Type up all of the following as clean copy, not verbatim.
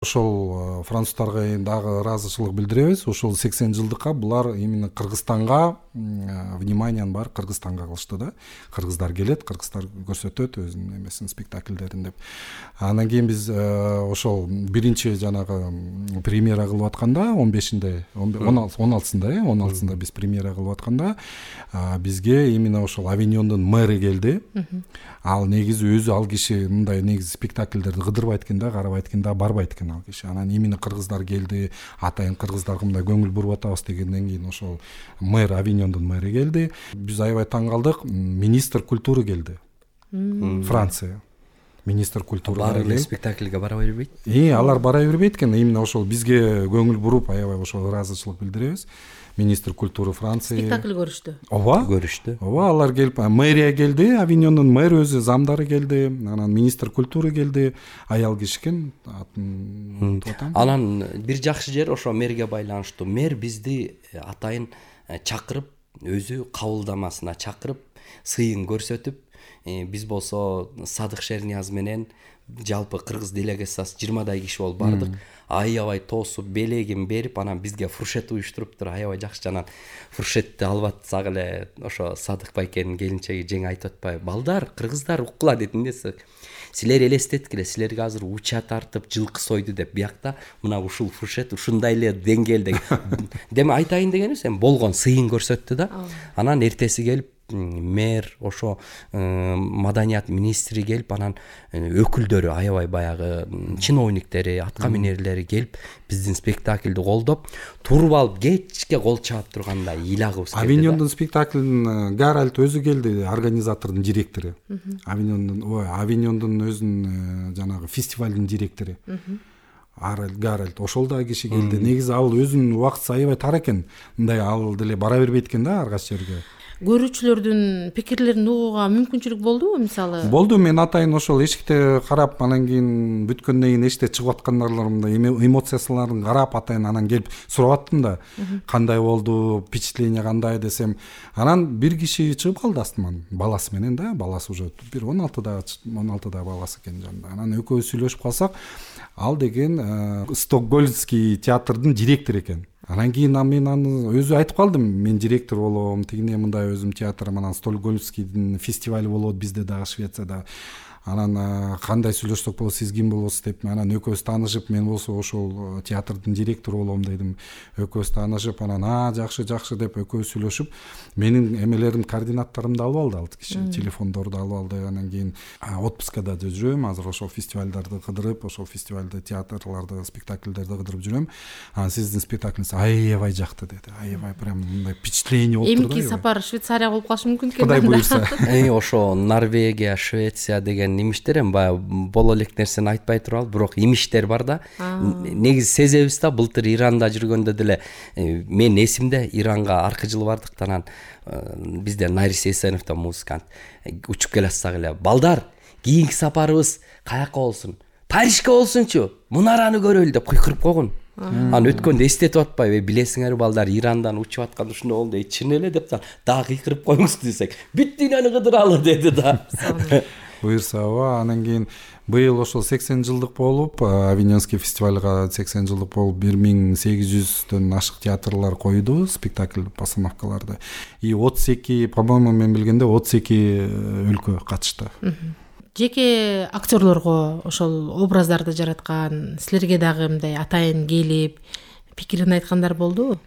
Ошол француздарга дагы ыраазычылык билдиребиз. Ошол 80 жылдыкка булар именно Кыргызстанга вниманиянын баары Кыргызстанга кылышты да. Кыргыздар келет, кыргыздар көрсөтөт өзүнүн эмесин, спектакльдерин деп. Анан кийин биз ошол биринчи жанагы премьера кылып атканда 15-inde 16-сында биз премьера кылып атканда бизге именно ошол Авиньондун мэры келди. Ал негизи өзү ал киши мындай негизи спектакльдерди кыдырбайт экен да, карабайт экен да, барбайт экен ал киши. Анан именно кыргыздар келди, атайын кыргыздарга мындай көңүл буруп атабыз дегенден кийин ошол мэр, Авиньондун мэри келди. Биз аябай таң калдык. Министр культуры келди. Франция. Министр культуры баары спектакльге бара бербейт. Алар бара бербейт экен. Именно ошол бизге көңүл буруп аябай ошол ыраазычылык билдиребиз. Министр культуры Франция. Спектакль көрүштү. Ооба, алар келип, мэрия келди, Авиньондун мэр өзү, замдары келди, анан министр культуры келди, аял киши экен, атын атам. Анан бир жакшы жери ошо мэрге байланыштуу. Мэр бизди атайын чакырып, өзү кабылдамасына чакырып, сыйын көрсөтүп, биз болсо Садык Шернияз менен жалпы кыргыз делегациясы 20дай киши болуп бардык. Аябай тоосуп, белегин берип, анан бизге фуршет уюштуруптур. Аябай жакшы. Анан фуршетти алып атсак эле ошо Садык байкенин келинчеги жеңе айтып атпайбы? Балдар, кыргыздар уккула деди. Эмнеси? Силер элестеткиле, силерге азыр уча тартып, жылкы сойду деп, биякта мына ушул фуршет ушундай эле деңгээлде. Деме айтайын дегени сен болгон сыйын көрсөттү да. Анан эртеси келип мэр, ошо маданият министри келип, анан өкүлдөрү аябай баягы чиновниктери, атка минерлери келип биздин спектакльди колдоп, туруп алып кечке кол чаап турганда ыйлагыбыз келди. Авиньондун спектакльдин Гаральд өзү келди, организатордун директору. Авиньондун өзүнүн жанагы фестивалдын директору. Гаральд ошол да киши келди. Негизи ал өзүнүн убактысы аябай тар экен. Мындай ал деле бара бербейт экен да ар кайсы жерге. Көрүүчүлөрдүн пикирлерин угууга мүмкүнчүлүк болдубу, мисалы? Болду, мен атайын ошол эшикте карап, анан кийин бүткөндөн кийин эшикте чыгып аткандарымда эмоциясыларын карап, атайын анан келип сурап аттым да, кандай болду, впечатление кандай десем, анан бир киши чыгып калды астыман, баласы менен да, баласы уже бир 16да баласы экен жанында. Анан экөөбүз сүйлөшүп калсак, ал деген Стокгольмский театрдын директору экен. Анан кийин мен аны өзү айтып калдым, мен директор болом, тигине мындай өзүм театрым, анан Стокгольмскийдин фестивали болот бизде дагы Швецияда. Анан кандай сүйлөшсөк болот, сиз ким болосуз деп, анан экөөбүз таанышып, мен болсо ошол театрдын директору болом дедим. Экөөбүз таанышып, анан жакшы деп экөөбүз сүйлөшүп, менин эмелерим, координаттарымды алып алды ал киши, телефондорду алып алды. Анан кийин отпускада жүрөм, азыр ошол фестивалдарды кыдырып, ошол фестивалды, театрларды, спектакльдерди кыдырып жүрөм. Анан сиздин спектаклиңиз аябай жакты деди. Аябай прям мындай впечатление болуптур да. Эмки сапар Швейцария болуп калышы мүмкүн экен. Кудай буйрса. Ошо Норвегия, Швеция деген имиштер эми баягы боло элек нерсени айтпай туралы, бирок имиштер бар да. Негизи сезебиз да, былтыр Иранда жүргөндө деле мен эсимде, Иранга аркы жылы бардык, анан бизде Нарис Эсенов да музыкант учуп келатсак эле, балдар, кийинки сапарыбыз каяка болсун? Парижге болсунчу, мунараны көрөлү деп кыйкырып койгон. Анан өткөндө эстетип атпайбы, билесиңерби балдар, Ирандан учуп атканда ушундай болду, чын эле деп дагы кыйкырып коюңуз десек, бүт дүйнөнү кыдыралы деди да. Буйрса, анан кийин быйыл ошол 80 жылдык болуп, Авиньонский фестивалга 80 жылдык болуп, 1800дөн ашык театрлар койду спектакль постановкаларды. И 32, по-моему, мен билгенде 32 өлкө катышты. Жеке актерлорго ошол образдарды жараткан, силерге дагы мындай атайын келип, пикирин айткандар болдубу?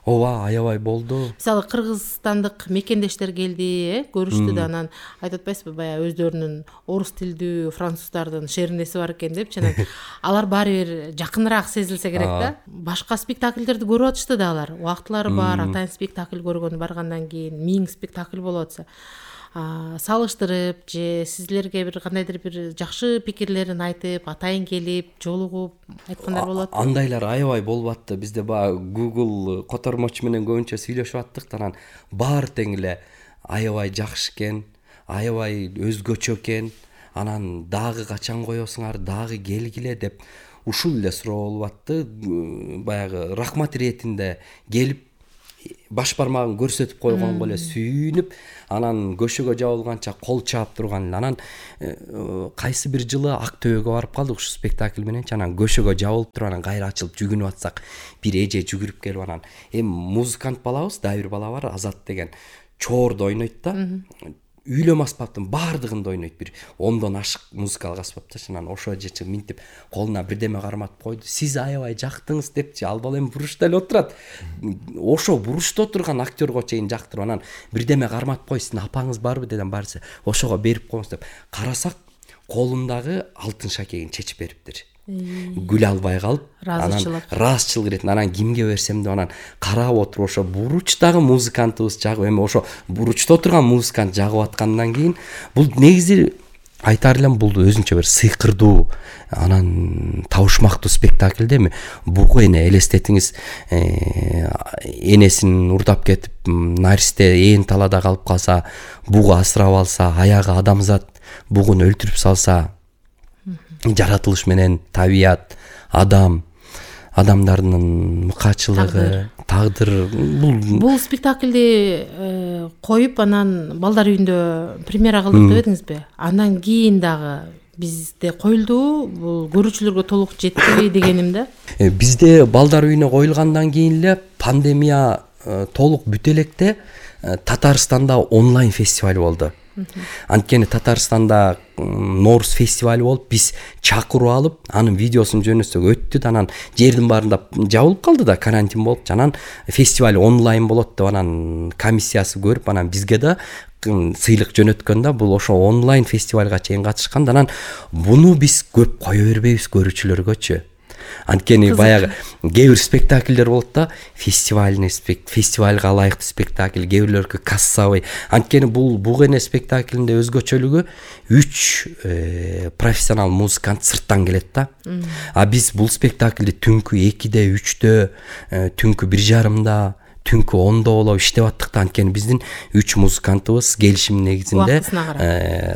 Ооба, аябай болду. Мисалы кыргызстандык мекендештер келди, көрүштү да, анан айтып атпайсызбы, баягы өздөрүнүн орус тилдүү француздардын шернеси бар экен деп, жана алар баары бир жакыныраак сезилсе керек да. Башка спектакльдерди көрүп атышты да алар. Убактылары бар, атайын спектакль көргөн, баргандан кийин 1000 спектакль болуп атса. Салыштырып же сизлерге бир кандайдыр бир жакшы пикирлерин айтып, атайын келип, жолугуп айткандар болот. Андайлар аябай болуп атты. Бизде баягы Google котормочу менен көбүнчө сүйлөшүп аттык, анан баары тең эле аябай жакшы экен, аябай өзгөчө экен. Анан дагы качан коесуңар, дагы келгиле деп ушул эле суроо болуп атты. Баягы рахмат иретинде келип баш бармагын көрсөтүп койгонго эле сүйүнүп, анан көшөгө жабылганча кол чаап турган. Анан кайсы бир жылы Ак Төбөгө барып калдык ушу спектакль менен. Анан көшөгө жабылып туруп, анан кайра ачылып жүгүнүп атсак, бир эже жүгүрүп келип, анан музыкант балабыз, дагы бир бала бар, Азат деген, чоорду ойнойт да. Үйлөм аспаптын баардыгында ойнойт, бир 10дон ашык музыкалык аспапта. Анан ошо эже минтип колуна бирдеме карматып койду. Сиз аябай жактыңыз депчи. Ал бала эми буручта эле отурат. Ошо буручта отурган актерго чейин жактырып, анан бирдеме карматып кой, сиздин апаңыз барбы дедим. Барса, ошого берип коюңуз деп. Карасак, колундагы алтын шакегин чечип бериптир. Гүл албай калып, анан ыраазычылык ирет. Анан кимге берсем деп анан карап отуруп, ошо буручтагы музыкантыбыз жагып, эми ошо буручта отурган музыкант жагып аткандан кийин, бул негизи айтар элем, бул өзүнчө бир сыйкырдуу, анан табышмактуу спектакль да. Эми бугу эне элестетиңиз, энесин урдап кетип, наристе ээн талаада калып калса, бугу асырап алса, аягы адамзат бугун өлтүрүп салса, жаратылыш менен табият, адамдардын мыкаачылыгы, тагдыр, бул спектакльди коюп, анан балдар үйүндө премьера кылдык деп эдиңизби? Андан кийин дагы бизде коюлдубу? Бул көрүүчүлөргө толук жетпеби дегеним да. Бизде балдар үйүнө коюлгандан кийин эле пандемия толук бүтө электе Татарстанда онлайн фестиваль болду. Анткени Татарстанда Норус фестивали болуп, биз чакыруу алып, анын видеосун жөнөтсөк өттү да, анан жердин баарында жабылып калды да, карантин болуп, анан фестиваль онлайн болот деп анан комиссиясы көрүп, анан бизге да сыйлык жөнөткөн да. Бул ошо онлайн фестивалга чейин катышкан. Анан буну биз көп кое бербейбиз көрүүчүлөргөчү. Анткени баягы кээ бир спектакльдер болот да, фестивальга ылайыктуу спектакль, кээ бирлөргө кассовый. Анткени бул эне спектакльинде өзгөчөлүгү 3 профессионал музыкант сырттан келет да. А биз бул спектакльди түнкү 2-де, 3-дө, түнкү 1:30-да, түнкү 10-до болуп иштеп аттык да. Анткени биздин 3 музыкантыбыз келишим негизинде,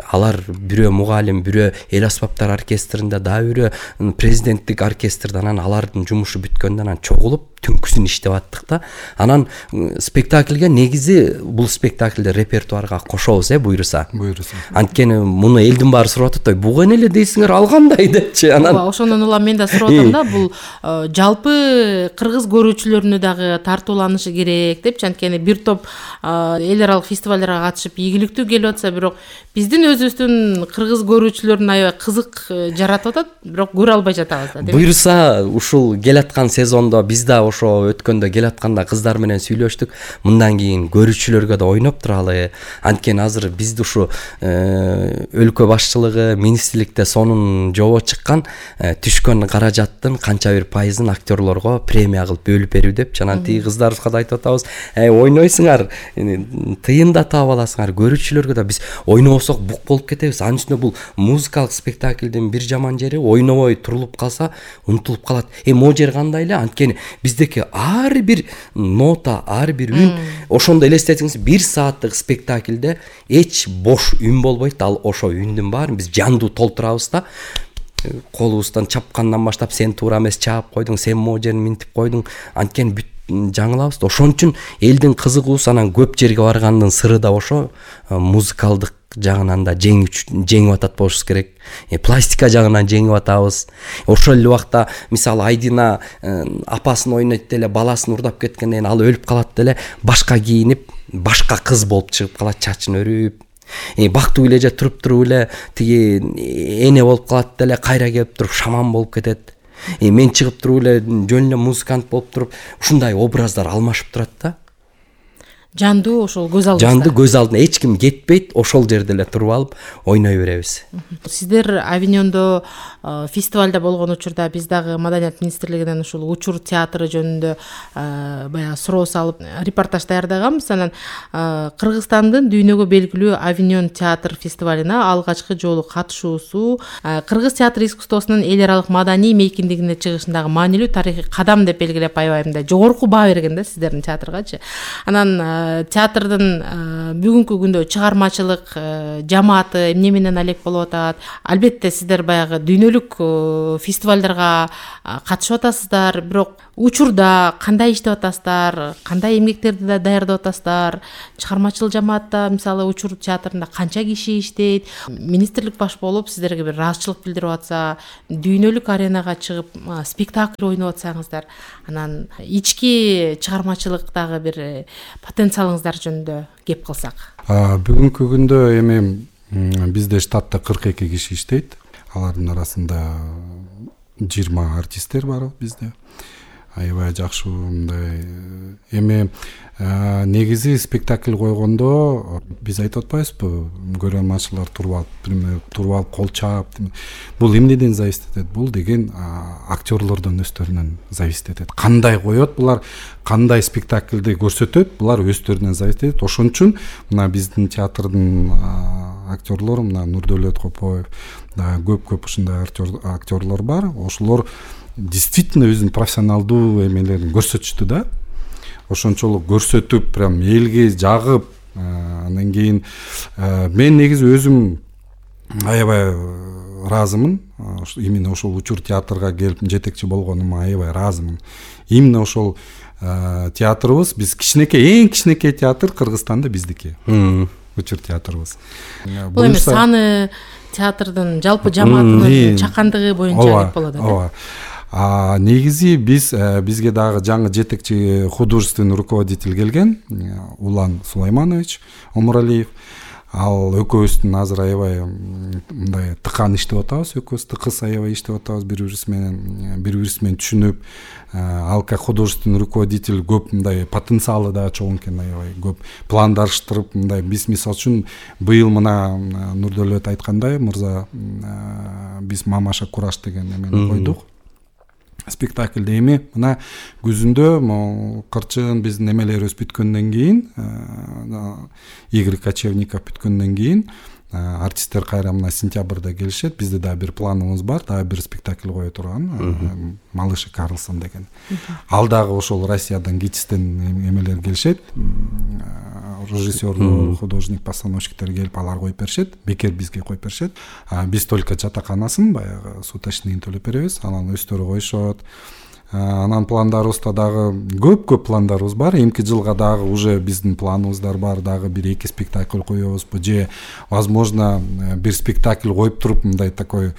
алар бирөө мугалим, бирөө эл аспаптар оркестринде, дагы бирөө президенттик оркестрде, анан алардын жумушу бүткөндөн анан чогулуп түнкүсүн иштеп аттык да. Анан спектакльге негизи бул спектакльди репертуарга кошобуз, буйруса. Анткени муну элдин баары сурап атат, буга эле дейсиңер, ал кандай депчи. Анан ошондон улам мен да сурап атам да, бул жалпы кыргыз көрүүчүлөрүнө дагы тартууланышы керек депчи. Анткени бир топ эл аралык фестивалдарга катышып ийгиликтүү келип атса, бирок биздин өзүбүздүн кыргыз көрүүчүлөрүн аябай кызык жаратып атат, бирок көрө албай жатабыз да. Буйруса ушул келаткан сезондо биз да ошо өткөндө келатканда кыздар менен сүйлөштүк. Мындан кийин көрүүчүлөргө да ойноп туралы. Анткени азыр бизди ушу өлкө башчылыгы, министрликте сонун жобо чыккан, түшкөн каражаттын канча бир пайызын актерлорго премия кылып бөлүп берүү депчи. Анан тиги кыздарыбызга да айтып атабыз, ойнойсуңар, тыйын да таап аласыңар. Көрүүчүлөргө да биз ойнобосок бук болуп кетебиз. Анын үстүнө бул музыкалык спектакльдин бир жаман жери, ойнобой турулуп калса унутулуп калат. Могу жер кандай эле? Анткени биздеки ар бир нота, ар бир үн, ошондо элестетиңиз, 1 сааттык спектакльде эч бош үн болбойт. Ал ошо үндүн баарын биз жандуу толтурабыз да. Колубуздан чапкандан баштап, сен туура эмес чаап койдуң, сен могу жерин минтип койдуң. Анткени бүт жаңылабыз. Ошон үчүн элдин кызыгуусу, анан көп жерге баргандын сыры да ошо. Музыкалдык жагынан да жеңип атат болушубуз керек. Пластика жагынан жеңип атабыз. Ошол эле убакта мисалы Айдина апасын ойнойт деле, баласын урдап кеткенден ал өлүп калат деле, башка кийинип, башка кыз болуп чыгып калат, чачын өрүп. Бактуу эле туруп эле тиги эне болуп калат деле, кайра келип туруп шаман болуп кетет. Мен чыгып туруп эле жөн эле музыкант болуп туруп, ушундай образдар алмашып турат да. Жандуу ошол көз алдыбызда. Жандуу көз алдына эч ким кетпейт, ошол жерде эле туруп алып ойной беребиз. Сиздер Авиньондо фестивалда болгон учурда биз дагы Маданият министрлигинен ушул учур театры жөнүндө баягы суроо салып репортаж даярдаганбыз. Анан Кыргызстандын дүйнөгө белгилүү Авиньон театр фестивалына алгачкы жолу катышуусу кыргыз театр искусствосунун эл аралык маданий мейкиндигине чыгышындагы маанилүү тарыхый кадам деп белгилеп, аябай мындай жогорку баа берген да сиздердин театргачы. Анан театрдын бүгүнкү күндө чыгармачылык жамааты эмне менен алек болуп атат? Албетте сиздер баягы дүйнөлүк фестивалдарга катышып атасыздар, бирок учурда кандай иштеп атасыздар, кандай эмгектерди да даярдап атасыздар? Чыгармачыл жамаатта мисалы учур театрында канча киши иштейт? Министрлик баш болуп сиздерге бир ыраазычылык билдирип атса, дүйнөлүк аренага чыгып спектакль ойноп атсаңыздар, анан ички чыгармачылыктагы бир потенциалыңыздар жөнүндө кеп кылсак. Бүгүнкү күндө эми бизде штатта 42 киши иштейт. Алардын арасында 20 артисттер бар бизде. Аябай жакшы мындай эми негизи спектакль койгондо биз айтып атпайбызбы, көрөрманчылар туруп алып кол чаап, бул эмнеден зависит этет? Бул деген актерлордон өздөрүнөн зависит этет. Кандай коет булар, кандай спектакльди көрсөтөт, булар өздөрүнөн зависит этет. Ошон үчүн мына биздин театрдын актерлору, мына Нурдөлөт Копоев, көп ушундай актерлор бар. Ошолор действительно өзүнүн профессионалдуу эмелерин көрсөтүштү да. Ошончолук көрсөтүп, прям элге жагып, андан кийин мен негизи өзүм аябай ыраазымын. Именно ошол учур театрга келип жетекчи болгонума аябай ыраазымын. Именно ошол театрыбыз, биз эң кичинекей театр Кыргызстанда биздики. Учур театрыбыз. Бул эми саны театрдын жалпы жамаатынын чакандыгы боюнча деп болот, ооба. Негизи бизге дагы жаңы жетекчи художественный руководитель келген, Улан Сулайманович Омуралиев. Ал экөөбүздүн азыр аябай мындай тыкан иштеп атабыз, экөөбүз тыкыз аябай иштеп атабыз, бири-бирибиз менен түшүнүп. Ал как художественный руководитель көп мындай потенциалы да чоң экен, аябай көп пландаштырып, мындай биз мисалы үчүн быйыл мына Нурдөлөт айткандай, мырза биз Мамаша Кураш деген эмени койдук. Спектакльде эми мына күзүндө Кырчын биздин эмелерибиз бүткөндөн кийин, Игорь Кочевников бүткөндөн кийин артисттер кайра мына сентябрда келишет. Бизде дагы бир планыбыз бар, дагы бир спектакль кое турган, Малыш Карлсон деген. Ал дагы ошол Россиядан ГИТИСтен эмелер келишет. Режиссер, художник, постановщиктер келип алар коюп беришет, бекер бизге коюп беришет. Биз только жатаканасын баягы суточныйын төлөп беребиз, анан өздөрү коюшот. Анан пландарыбызда дагы көп пландарыбыз бар. Эмки жылга дагы уже биздин планыбыздар бар, дагы 1-2 спектакль коебузбу же возможно бир спектакль коюп туруп мындай такой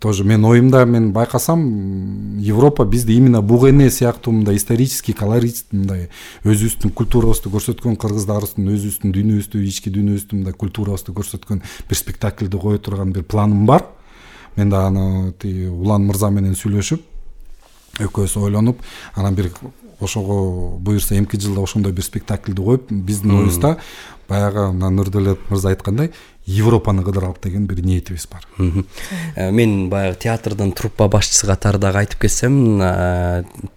тоже мен оюмда мен байкасам Европа бизди именно бугене сыяктуу мындай исторический колорит мындай өзүбүздүн культурабызды көрсөткөн, кыргыздарыбыздын өзүбүздүн дүйнөбүздү, ички дүйнөбүздүн мындай культурабызды көрсөткөн бир спектакльди кое турган бир планым бар. Мен да аны Улан мырза менен сүйлөшүп, экөөбүз ойлонуп, анан бир ошого буюрса эмки жылда ошондой бир спектакльди коюп, биздин оюбузда баягы Нурдөлөт мырза айткандай Европаны кыдыралып деген бир ниетибиз бар. Мен баягы театрдын труппа башчысы катарында айтып кетсем,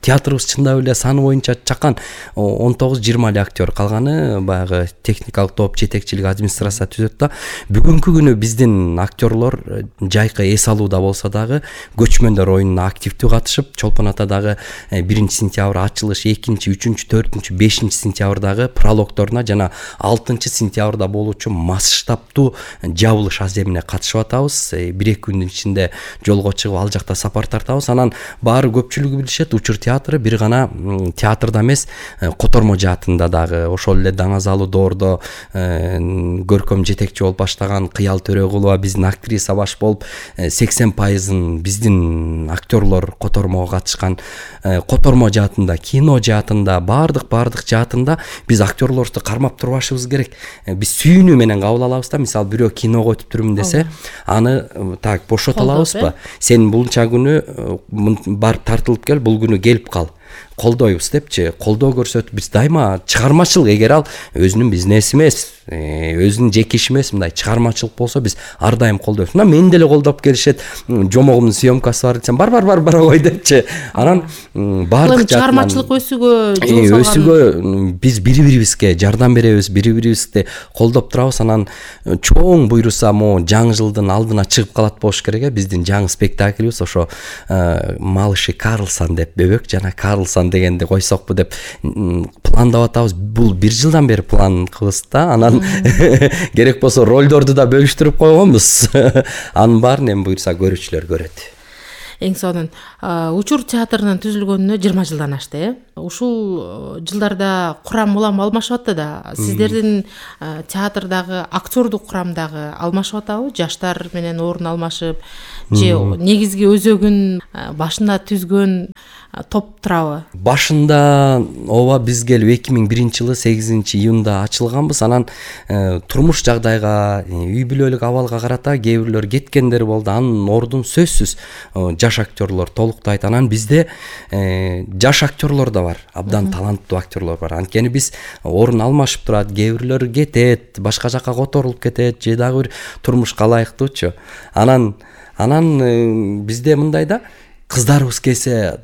театрыбыз чындап эле саны боюнча чакан 19-20 эле актер, калганы баягы техникалык топ, жетекчилик, администрация түзөт да. Бүгүнкү күнү биздин актерлор жайкы эс алууда болсо дагы көчмөндөр оюнуна активдүү катышып, Чолпон Атадагы 1-сентябрь ачылыш, 2-3, 4, 5 сентябрдагы прологторуна жана 6-сентябрда болуучу масштабтуу жабылыш аземине катышып атабыз. 1-2 күндүн ичинде жолго чыгып ал жакта сапар тартабыз. Анан баары көпчүлүгү билишет, учур театры бир гана театрда эмес, котормо жаатында дагы ошол эле Даңазалы Доордо көркөм жетекчи болуп баштаган Кыял Төрөгулова биздин актриса баш болуп 80% биздин актерлор котормого катышкан. Котормо жаатында, кино жаатында, баардык жаатында биз актерлорду кармап турбашыбыз керек. Биз сүйүнүү менен кабыл алабыз да. Мисалы бирөө киного өтүп турмун десе, аны так бошото алабызбы? Сен булча күнү барып тартылып кел, бул күнү келип кал. Колдойбуз депчи, колдоо көрсөтүп биз дайыма чыгармачылык, эгер ал өзүнүн бизнеси эмес, өзүнүн жеке иши эмес, мындай чыгармачылык болсо биз ар дайым колдойбуз. Мына мен деле колдоп келишет, жомогумдун съемкасы бар десем, бар кой депчи. Анан баардык чыгармачылык өсүүгө биз бири-бирибизге жардам беребиз, бири-бирибизди колдоп турабыз. Анан чоң буйруса могу жаңы жылдын алдына чыгып калат болуш керек. Биздин жаңы спектаклибиз ошо Малыш Карлсон деп, Бөбөк жана Карлсон анан дегенди койсокпу деп пландап атабыз. Бул 1 жылдан бери план кылабыз да. Анан керек болсо ролдорду да бөлүштүрүп койгонбуз. Анын баарын эми буюрса көрүүчүлөр көрөт. Эң сонун Учур театрынын түзүлгөнүнө 20 жылдан ашты, Ушул жылдарда курам улам алмашып атты да. Сиздердин театрдагы актердук курам дагы алмашып атабы? Жаштар менен орун алмашып, же негизги өзөгүн башында түзгөн топ турабы? Башында ооба биз келип 2001 жылы 8 июнда ачылганбыз. Анан турмуш жагдайга, үй бүлөлүк абалга карата кээ бирлөр кеткендер болду. Анын ордун сөзсүз жаш актерлор толуктайт. Анан бизде жаш актерлор да бар, абдан таланттуу актерлор бар. Анткени биз орун алмашып турат, кээ бирлөр кетет, башка жака которулуп кетет, же дагы бир турмушка ылайыктуучу. Анан бизде мындай да, кыздарыбыз келсе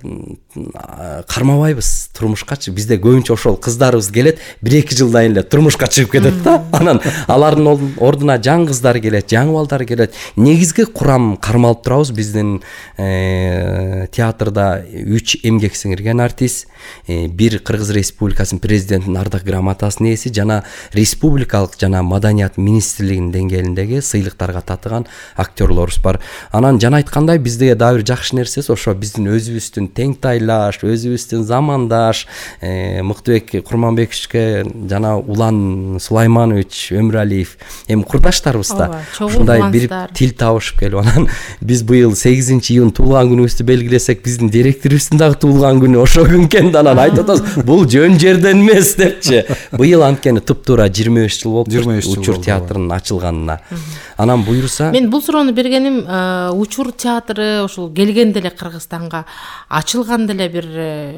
кармабайбыз турмушкачы. Бизде көбүнчө ошол кыздарыбыз келет, 1-2 жылдан эле турмушка чыгып кетет да. Анан алардын ордуна жаңы кыздар келет, жаңы балдар келет. Негизги курам кармалып турабыз. Биздин театрда 3 эмгек сиңирген артист, 1 Кыргыз Республикасынын президентинин ардак грамотасынын ээси жана республикалык жана маданият министрлигинин деңгээлиндеги сыйлыктарга татыган актерлорубуз бар. Анан жана айткандай бизде дагы бир жакшы нерсеси ошо биздин өзүбүздүн теңтайлаш, өзүбүздүн замандаш Мыктыбек Курманбековичке жана Улан Сулайманович Өмүралиев эми курдаштарыбыз да. Ушундай бир тил табышып келип, анан биз быйыл 8 июнь туулган күнүбүздү белгилесек, биздин директорубуздун дагы туулган күнү ошол күн экен. Анан айтып атабыз, бул жөн жерден эмес депчи. Быйыл анткени туп-туура 25 жыл болду Учур театрынын ачылганына. Анан буюрса, мен бул суроону бергеним Учур театры ошол келгенде эле Кыргызстанга ачылганда эле бир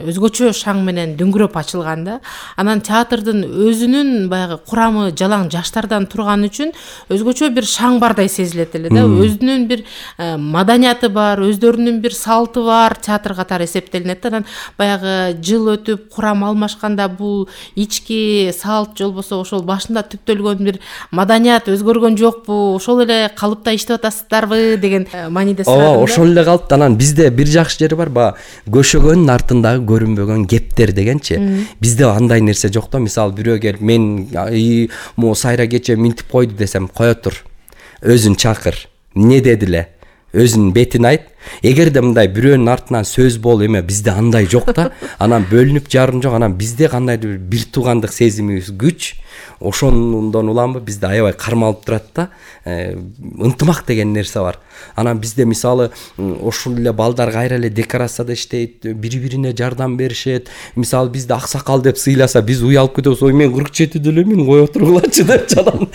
өзгөчө шаң менен дөңгүрөп ачылган да. Анан театрдын өзүнүн баягы курамы жалаң жаштардан турган үчүн өзгөчө бир шаң бардай сезилет эле да. Өзүнүн бир маданияты бар, өздөрүнүн бир салты бар театр катары эсептелинет да. Анан баягы жыл өтүп курам алмашканда бул ички салт же болбосо ошол башында түптөлгөн бир маданият өзгөргөн жокпу, ошол эле калыпта иштеп атасыздарбы деген мааниде сурадым. Ооба, ошол эле калыпта. Анан бизде бир жакшы жери бар, көшөгөнүн артындагы көрүнбөгөн кептер дегенчи. Бизде андай нерсе жок да. Мисалы бирөө келип, мен могу сайра кече минтип койду десем, кое тур. Өзүн чакыр. Эмне деди эле? Өзүнүн бетин айт. Эгерде мындай бирөөнүн артынан сөз болуп эме, бизде андай жок да. Анан бөлүнүп жарым жок. Анан бизде кандайдыр бир туугандык сезимибиз күч. Ошондон уламбы бизде аябай кармалып турат да. Ынтымак деген нерсе бар. Анан бизде мисалы ошол эле балдар кайра эле декорацияда иштейт, бири-бирине жардам беришет. Мисалы бизде аксакал деп сыйласа, биз уялып кетебиз. Ой, мен 47 элемин, кое тургулачы деп жанан.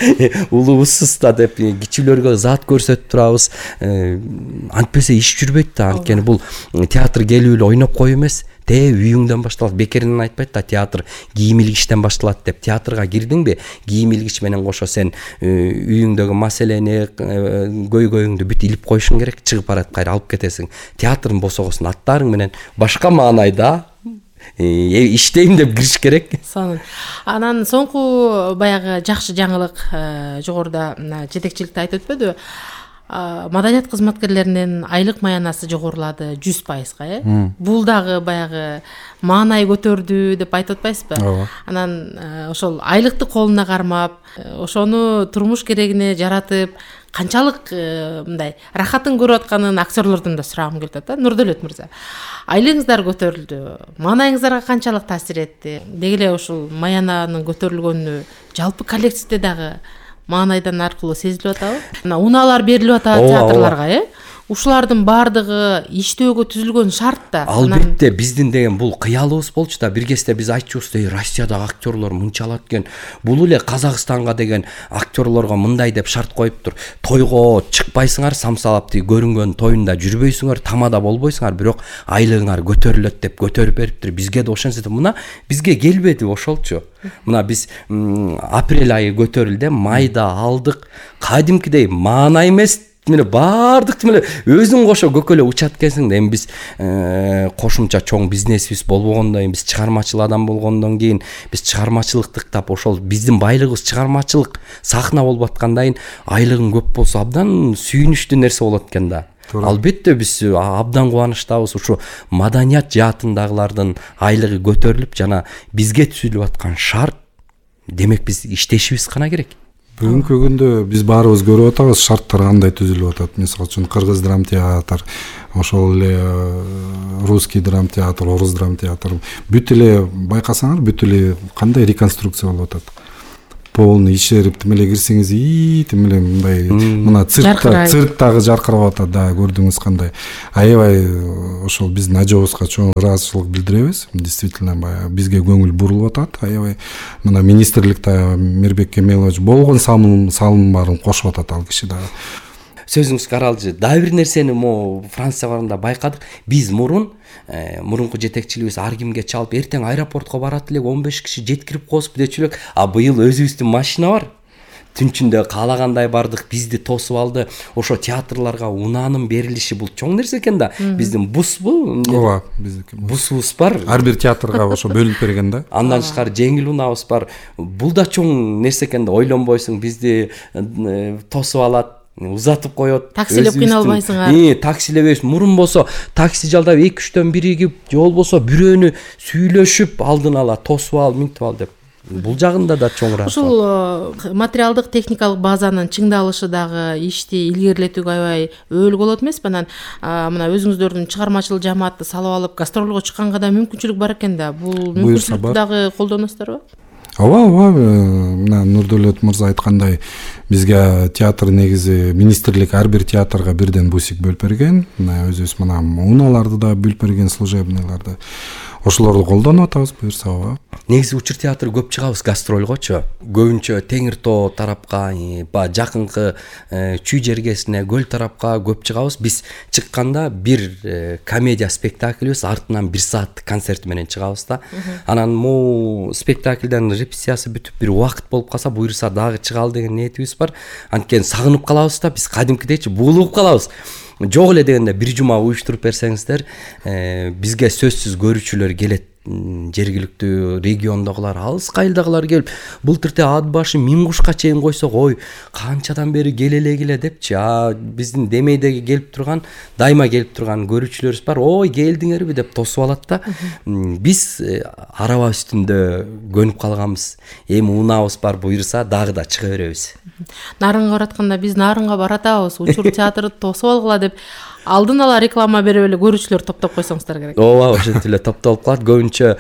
Улуусуз да деп кичүүлөргө зат көрсөтүп турабыз. Антпесе иш жүрбөйт да. Анткени бул театр келип эле ойноп коюу эмес. Үйүңдөн башталат. Бекеринен айтпайт да, театр кийим илгичтен башталат деп. Театрга кирдиңби, кийим илгич менен кошо сен үйүңдөгү маселени, көйгөйүңдү бүт илип коюшуң керек, чыгып барат кайра алып кетесиң. Театрдын босогосун аттарың менен башка маанайда иштейм деп кириш керек. Сонун. Анан соңку баягы жакшы жаңылык жогоруда жетекчиликте айтып өтпөдүбү? Маданият кызматкерлеринин айлык маянасы жогорулады 100%, Бул дагы баягы маанай көтөрдү деп айтып атпайсызбы? Анан ошол айлыкты колуна кармап, ошону турмуш керегине жаратып, канчалык мындай рахатын көрүп атканын актерлордон да сурагым келип атат да. Нурдөлөт мырза, айлыгыңыздар көтөрүлдү, маанайыңыздарга канчалык таасир этти? Деги эле ошол маянанын көтөрүлгөнү жалпы коллективде дагы маанайдан аркылуу сезилип атабы? Унаалар берилип атат театрларга, Ушулардын баардыгы иштөөгө түзүлгөн шарт да. Албетте, биздин деген бул кыялыбыз болчу да. Бир кезде биз айтчубуз, Россиядагы актерлор мынчалат экен. Бул эле Казакстанга деген актерлорго мындай деп шарт коюптур. Тойго чыкпайсыңар, самсалап көрүнгөн тоюнда жүрбөйсүңөр, тамада болбойсуңар, бирок айлыгыңар көтөрүлөт деп көтөрүп бериптир. Бизге да ошентсе, мына бизге келбеди ошолчу. Мына биз апрель айы көтөрүлдү, майда алдык. Кадимкидей маанай эмес, баардык өзүң кошо көкө эле учат экенсиң да. Эми биз кошумча чоң бизнесибиз болбогондон кийин, биз чыгармачыл адам болгондон кийин, биз чыгармачылыкты тап ошол биздин байлыгыбыз чыгармачылык, сахна болуп аткандан кийин айлыгың көп болсо абдан сүйүнүчтүү нерсе болот экен да. Албетте биз абдан кубанычтабыз. Ушу маданият жаатындагылардын айлыгы көтөрүлүп жана бизге түзүлүп аткан шарт, демек биз иштешибиз гана керек. Бүгүнкү күндө биз баарыбыз көрүп атабыз шарттар кандай түзүлүп атат. Мисалы үчүн кыргыз драм театр, ошол эле русский драм театр, орус драм театр бүт эле байкасаңар бүт эле кандай реконструкция болуп атат. Полный ишерип тим эле кирсеңиз тим эле мындай мына цирктагы жаркырап атат, да, көрдүңүз кандай. Аябай ошол биздин ажообузга чоң ыраазычылык билдиребиз. Действительно баягы бизге көңүл бурулуп атат. Аябай мына министрликте Мирбек Кемелович болгон салым баарын кошуп атат ал киши дагы. Сөзүңүзгө каралчы. Дагы бир нерсени мо Франция барганда байкадык. Биз мурунку жетекчилигибиз ар кимге чалып эртең аэропортко барат элек 15 киши жеткирип коесуп дечү элек. А быйыл өзүбүздүн машина бар. Түн ичинде каалагандай бардык, бизди тосуп алды. Ошо театрларга унаанын берилиши бул чоң нерсе экен да. Биздин бусбу? Ооба, биздики бусубуз бар. Ар бир театрга ошо бөлүнүп берген да. Андан тышкары жеңил унаабыз бар. Бул да чоң нерсе экен да. Ойлонбойсуң, бизди тосуп алат. Узатып коет. Таксилеп кыйналбайсыңар. Таксилебейбиз. Мурун болсо такси жалдап 2-3төн биригип, же болбосо бирөөнү сүйлөшүп алдын ала тосуп ал, минтип ал деп. Бул жагында да чоң ыраазы. Ушул материалдык техникалык базанын чыңдалышы дагы ишти илгерилетүүгө аябай өөлү болот эмеспи? Анан мына өзүңүздөрдүн чыгармачыл жамаатты салып алып гастролго чыкканга да мүмкүнчүлүк бар экен да. Бул мүмкүнчүлүктү дагы колдоносуздарбы? Ооба, мына Нурдөлөт мырза айткандай, бизге театр негизи министрлик ар бир театрга бирден бусик бөлүп берген. Мына өзүбүз мына унааларды да бөлүп берген, служебныйларды. Ошолорду колдонуп атабыз, буюрса. Ооба. Негизи Учур театры көп чыгабыз гастролгочу. Көбүнчө Теңир Тоо тарапка, жакынкы Чүй жергесине, Көл тарапка көп чыгабыз. Биз чыкканда бир комедия спектаклибиз, артынан 1 сааттык концерт менен чыгабыз да. Анан могу спектаклден репетициясы бүтүп бир убакыт болуп калса, буюрса дагы чыгалы деген ниетибиз бар. Анткени сагынып калабыз да, биз кадимкидейчи буулуп калабыз. Жок эле дегенде бир жума уюштуруп берсеңиздер, бизге сөзсүз көрүүчүлөр келет. Жергиликтүү региондогулар, алыс кайылдагылар келип, былтырте ат башы 1000 кушка чейин койсок, ой, канчадан бери келе депчи. Биздин Демейдеги келип турган, дайыма келип турган көрүүчүлөрүбүз бар. Ой, келдиңерби деп тосуп алат да. Биз араба үстүндө көнүп калганбыз. Эми унаабыз бар, буюрса дагы да чыга беребиз. Нарынга баратканда биз Нарынга баратабыз, Учур театрды тосуп алгыла деп алдын ала реклама берип эле көрүүчүлөр топтоп койсоңуздар керек. Ооба, ошентип эле топтолуп калат. Көбүнчө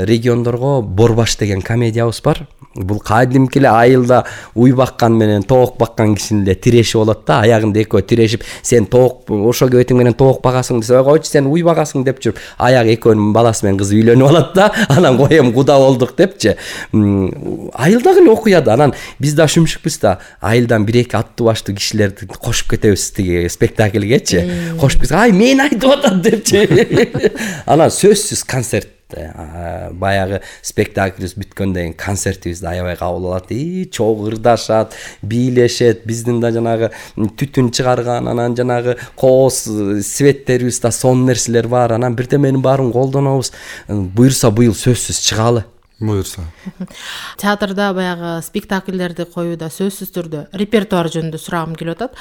региондорго Борбаш деген комедиябыз бар. Бул кадимки эле айылда уй баккан менен тоок баккан кишинин эле тиреши болот да. Аягында экөө тирешип, сен тоок ошо кебетиң менен тоок багасың десе, койчу сен уй багасың деп жүрүп, аягы экөөнүн баласы менен кызы үйлөнүп алат да. Анан коем куда болдук депчи. Айылдагы эле окуя да. Анан биз да шүмшүкпүз да. Айылдан 1-2 аттуу баштуу кишилерди кошуп кетебиз тиги спектакльге. Кошуп кетсек, ай мен айтып атат депчи. Анан сөзсүз концерт, баягы спектаклибиз бүткөндөн кийин концертибизди аябай кабыл алат. Чогуу ырдашат, бийлешет, биздин да жанагы түтүн чыгарган, анан жанагы кооз светтерибиз да сонун нерселер бар. Анан бирдеменин баарын колдонобуз. Буюрса быйыл сөзсүз чыгалы. Буюрса. Театрда баягы спектакльдерди коюуда сөзсүз түрдө репертуар жөнүндө сурагым келип атат.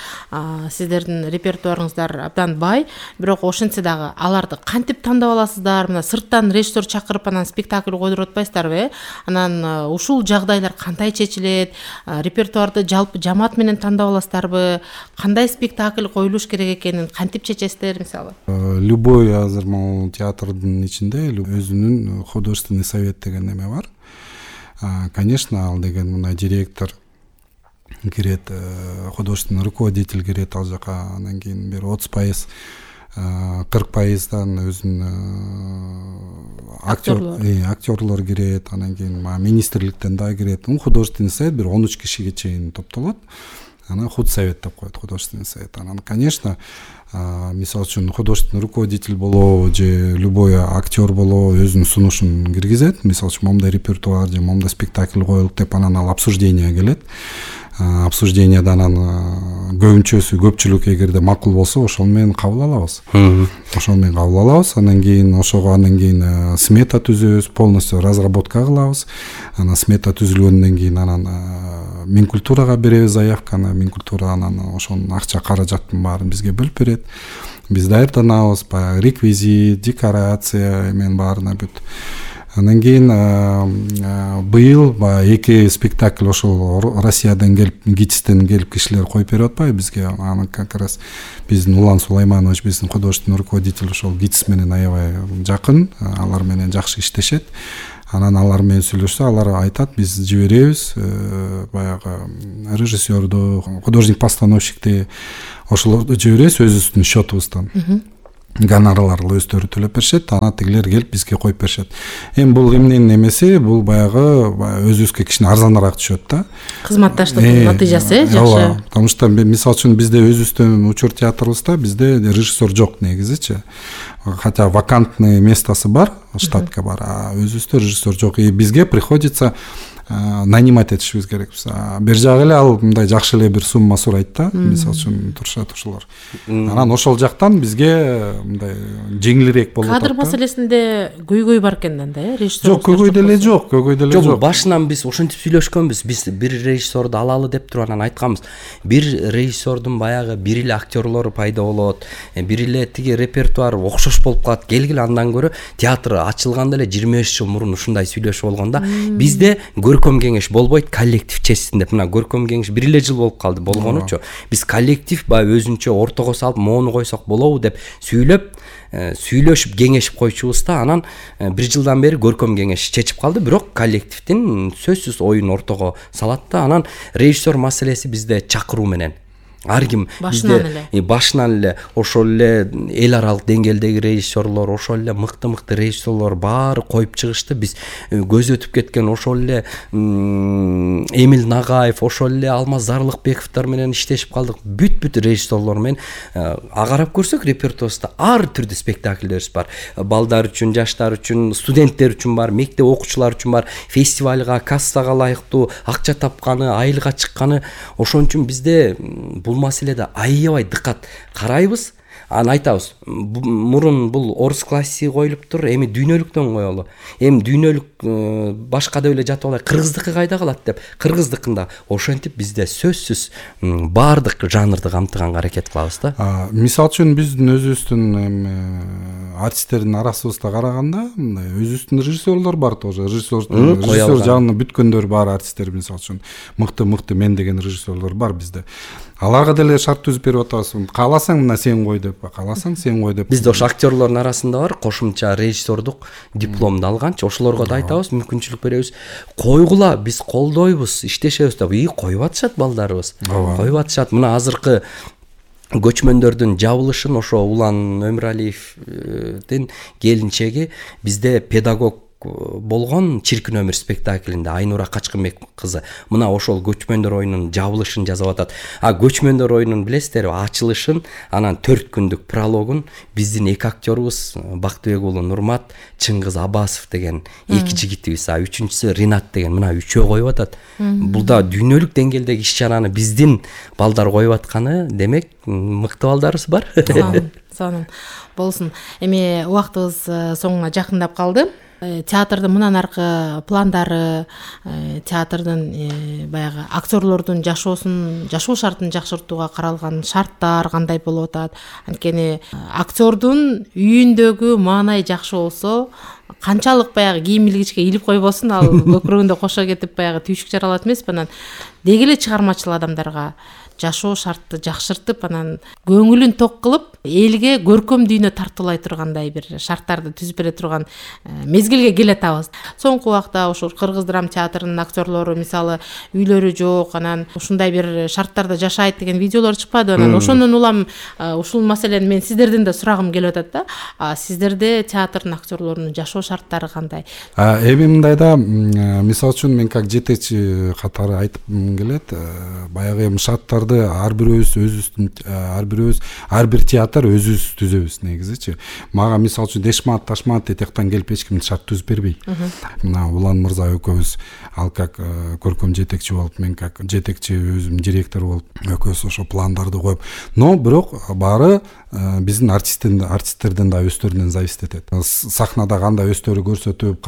Сиздердин репертуарыңыздар абдан бай, бирок ошентсе дагы аларды кантип тандап аласыздар? Мына сырттан режиссер чакырып анан спектакль койдуруп атпайсыздарбы? Анан ушул жагдайлар кандай чечилет? Репертуарды жалпы жамаат менен тандап аласыздарбы? Кандай спектакль коюлуш керек экенин кантип чечесиздер мисалы? Любой азыр могу театрдын ичинде өзүнүн художественный совет деген неме бар. Конечно, ал деген мына директор кирет, художественный руководитель кирет ал жака, анан кийин бир 30%, 40%дан өзүнүн актерлор кирет, анан кийин министрликтен да кирет. Художественный совет бир 13 кишиге чейин топтолот. Анан худсовет деп коет, художественный совет. Анан, конечно, мисалы үчүн художественный руководитель болобу же любой актер болобу өзүнүн сунушун киргизет. Мисалы үчүн момундай репертуар же момундай спектакль коелук деп анан ал обсуждение келет. Обсужденияда анан көпчүлүк эгерде макул болсо ошол менен кабыл алабыз. Анан кийин смета түзөбүз, полностью разработка кылабыз. Анан смета түзүлгөндөн кийин анан Минкультурага беребиз заявканы, Минкультура анан ошонун акча каражаттын баарын бизге бөлүп берет. Биз даярданабыз, баягы реквизит, декорация эмен баарына бүт. Андан кийин быйыл баягы 2 спектакль ошол Россиядан келип, ГИТИСтен келип кишилер коюп берип атпайбы бизге. Аны как раз биздин Улан Сулайманович, биздин художественный руководитель, ошол ГИТИС менен аябай жакын, алар менен жакшы иштешет. Анан алар менен сүйлөшсө, алар айтат, биз жиберебиз баягы режиссерду, художник-постановщикти, ошолорду жиберебиз өзүбүздүн счетубуздан. Гонорарларды өздөрү төлөп беришет, анан тигилер келип бизге коюп беришет. Эми бул эмненин эмеси, бул баягы өзүбүзгө кичине арзаныраак түшөт да. Кызматташтыктын натыйжасы жакшы. Потому что мисалы үчүн бизде өзүбүздүн учур театрыбызда бизде режиссер жок негизичи. Хотя вакантный местосы бар, штатка бар, а өзүбүздө режиссер жок. И бизге приходится нанимать этишибиз керек. Бер жагы эле ал мындай жакшы эле бир сумма сурайт да, мисалы үчүн турушат ошолор. Анан ошол жактан бизге мындай жеңилирээк болот. Кадр маселесинде көйгөй бар экен да, режиссер. Жок, көйгөй деле жок, көйгөй деле жок. Башынан биз ошентип сүйлөшкөнбүз. Биз бир режиссерду алалы деп туруп анан айтканбыз. Бир режиссердун баягы бир эле актерлору пайда болот, бир эле тиги репертуар окшош болуп калат. Келгиле андан көрө театр ачылганда эле 25 жыл мурун ушундай сүйлөшүп болгон да. Бизде көркөм кеңеш болбойт, коллектив чечсин деп. Мына көркөм кеңеш бир эле жыл болуп калды болгонучу. Биз коллектив баягы өзүнчө ортого салып, моуну койсок болобу деп сүйлөшүп кеңешип койчубуз да. Анан бир жылдан бери көркөм кеңеш чечип калды, бирок коллективдин сөзсүз оюн ортого салат да. Анан режиссер маселеси бизде чакыруу менен. Ар ким башынан эле ошол эле эл аралык деңгээлдеги режиссерлор, ошол эле мыкты режиссерлор баары коюп чыгышты. Биз көз өтүп кеткен ошол эле Эмил Нагаев, ошол эле Алмаз Зарлыкбековдор менен иштешип калдык. Бүт режиссерлор менен агарап көрсөк, репертуарыбызда ар түрдүү спектакльдерибиз бар. Балдар үчүн, жаштар үчүн, студенттер үчүн бар, мектеп окуучулар үчүн бар, фестивалга, кассага ылайыктуу акча тапканы, айылга чыкканы. Ошон үчүн бизде бул маселеде аябай дыккат карайбыз. Аны айтабыз. Мурун бул орус классиги коюлуптур, эми дүйнөлүктөн коелу. Эми дүйнөлүк башкада эле жатып алай, кыргыздыкы кайда калат деп. Кыргыздыкында ошентип бизде сөзсүз баардык жанрды камтыганга аракет кылабыз да. Мисалы үчүн биздин өзүбүздүн артисттердин арасыбызда караганда, мындай өзүбүздүн режиссерлор бар тоже. Режиссер жагына бүткөндөр бар артисттер, мисалы үчүн мыкты мен деген режиссерлор бар бизде. Аларга деле шарт түзүп берип атабыз. Кааласаң мына сен кой деп, кааласаң сен кой деп. Бизде ошо актерлордун арасында бар кошумча режиссердук дипломду алганчы, ошолорго да айтабыз, мүмкүнчүлүк беребиз. Койгула, биз колдойбуз, иштешебиз деп. Коюп атышат балдарыбыз. Коюп атышат. Мына азыркы көчмөндөрдүн жабылышын ошо Улан Өмүралиевдин келинчеги бизде педагог болгон Чиркин өмүр спектаклинде Айнура Качкынбек кызы мына ошол көчмөндөр оюнунун жабылышын жасап атат. Көчмөндөр оюнунун билесиздерби, ачылышын, анан 4 күндүк прологун биздин 2 актерубуз Бактыбек уулу Нурмат, Чыңгыз Абасов деген 2 жигитибиз, 3-үчүсү Ринат деген мына 3өө коюп атат. Бул да дүйнөлүк деңгээлдеги иш-чараны биздин балдар коюп атканы, демек мыкты балдарыбыз бар. Сонун болсун. Эми убактыбыз соңуна жакындап калды. Театрдын мындан аркы пландары, театрдын баягы актерлордун жашоо шартын жакшыртууга каралган шарттар кандай болуп атат? Анткени актердун үйүндөгү маанай жакшы болсо, канчалык баягы кийим илгичке илип койбосун, ал көкүрөгүндө кошо кетип баягы түйшүк жаралат эмеспи? Анан деги эле чыгармачыл адамдарга жашоо шартты жакшыртып, анан көңүлүн ток кылып, элге көркөм дүйнө тартуулай тургандай бир шарттарды түзүп бере турган мезгилге келе атабыз. Соңку убакта ошол Кыргыз драма театрынын актерлору мисалы үйлөрү жок, анан ушундай бир шарттарда жашайт деген видеолор чыкпады. Анан ошондон улам ушул маселени мен сиздерден да сурагым келип атат да. Сиздерде театрдын актерлорунун жашоо шарттары кандай? Эми мындай да, мисалы үчүн мен как жетекчи катары айтып келет, баягы эми шарттарды пландарды ар бирөөбүз ар бир театр өзүбүз түзөбүз негизичи. Мага мисалы үчүн Дешмат Ташмат этияктан келип эч ким шарт түзүп бербейт. Мына Улан мырза экөөбүз ал как көркөм жетекчи болуп, мен как жетекчи өзүм директор болуп экөөбүз ошо пландарды коюп, но бирок баары биздин артисттерден да өздөрүнөн зависит этет. Сахнада кандай өздөрү көрсөтүп,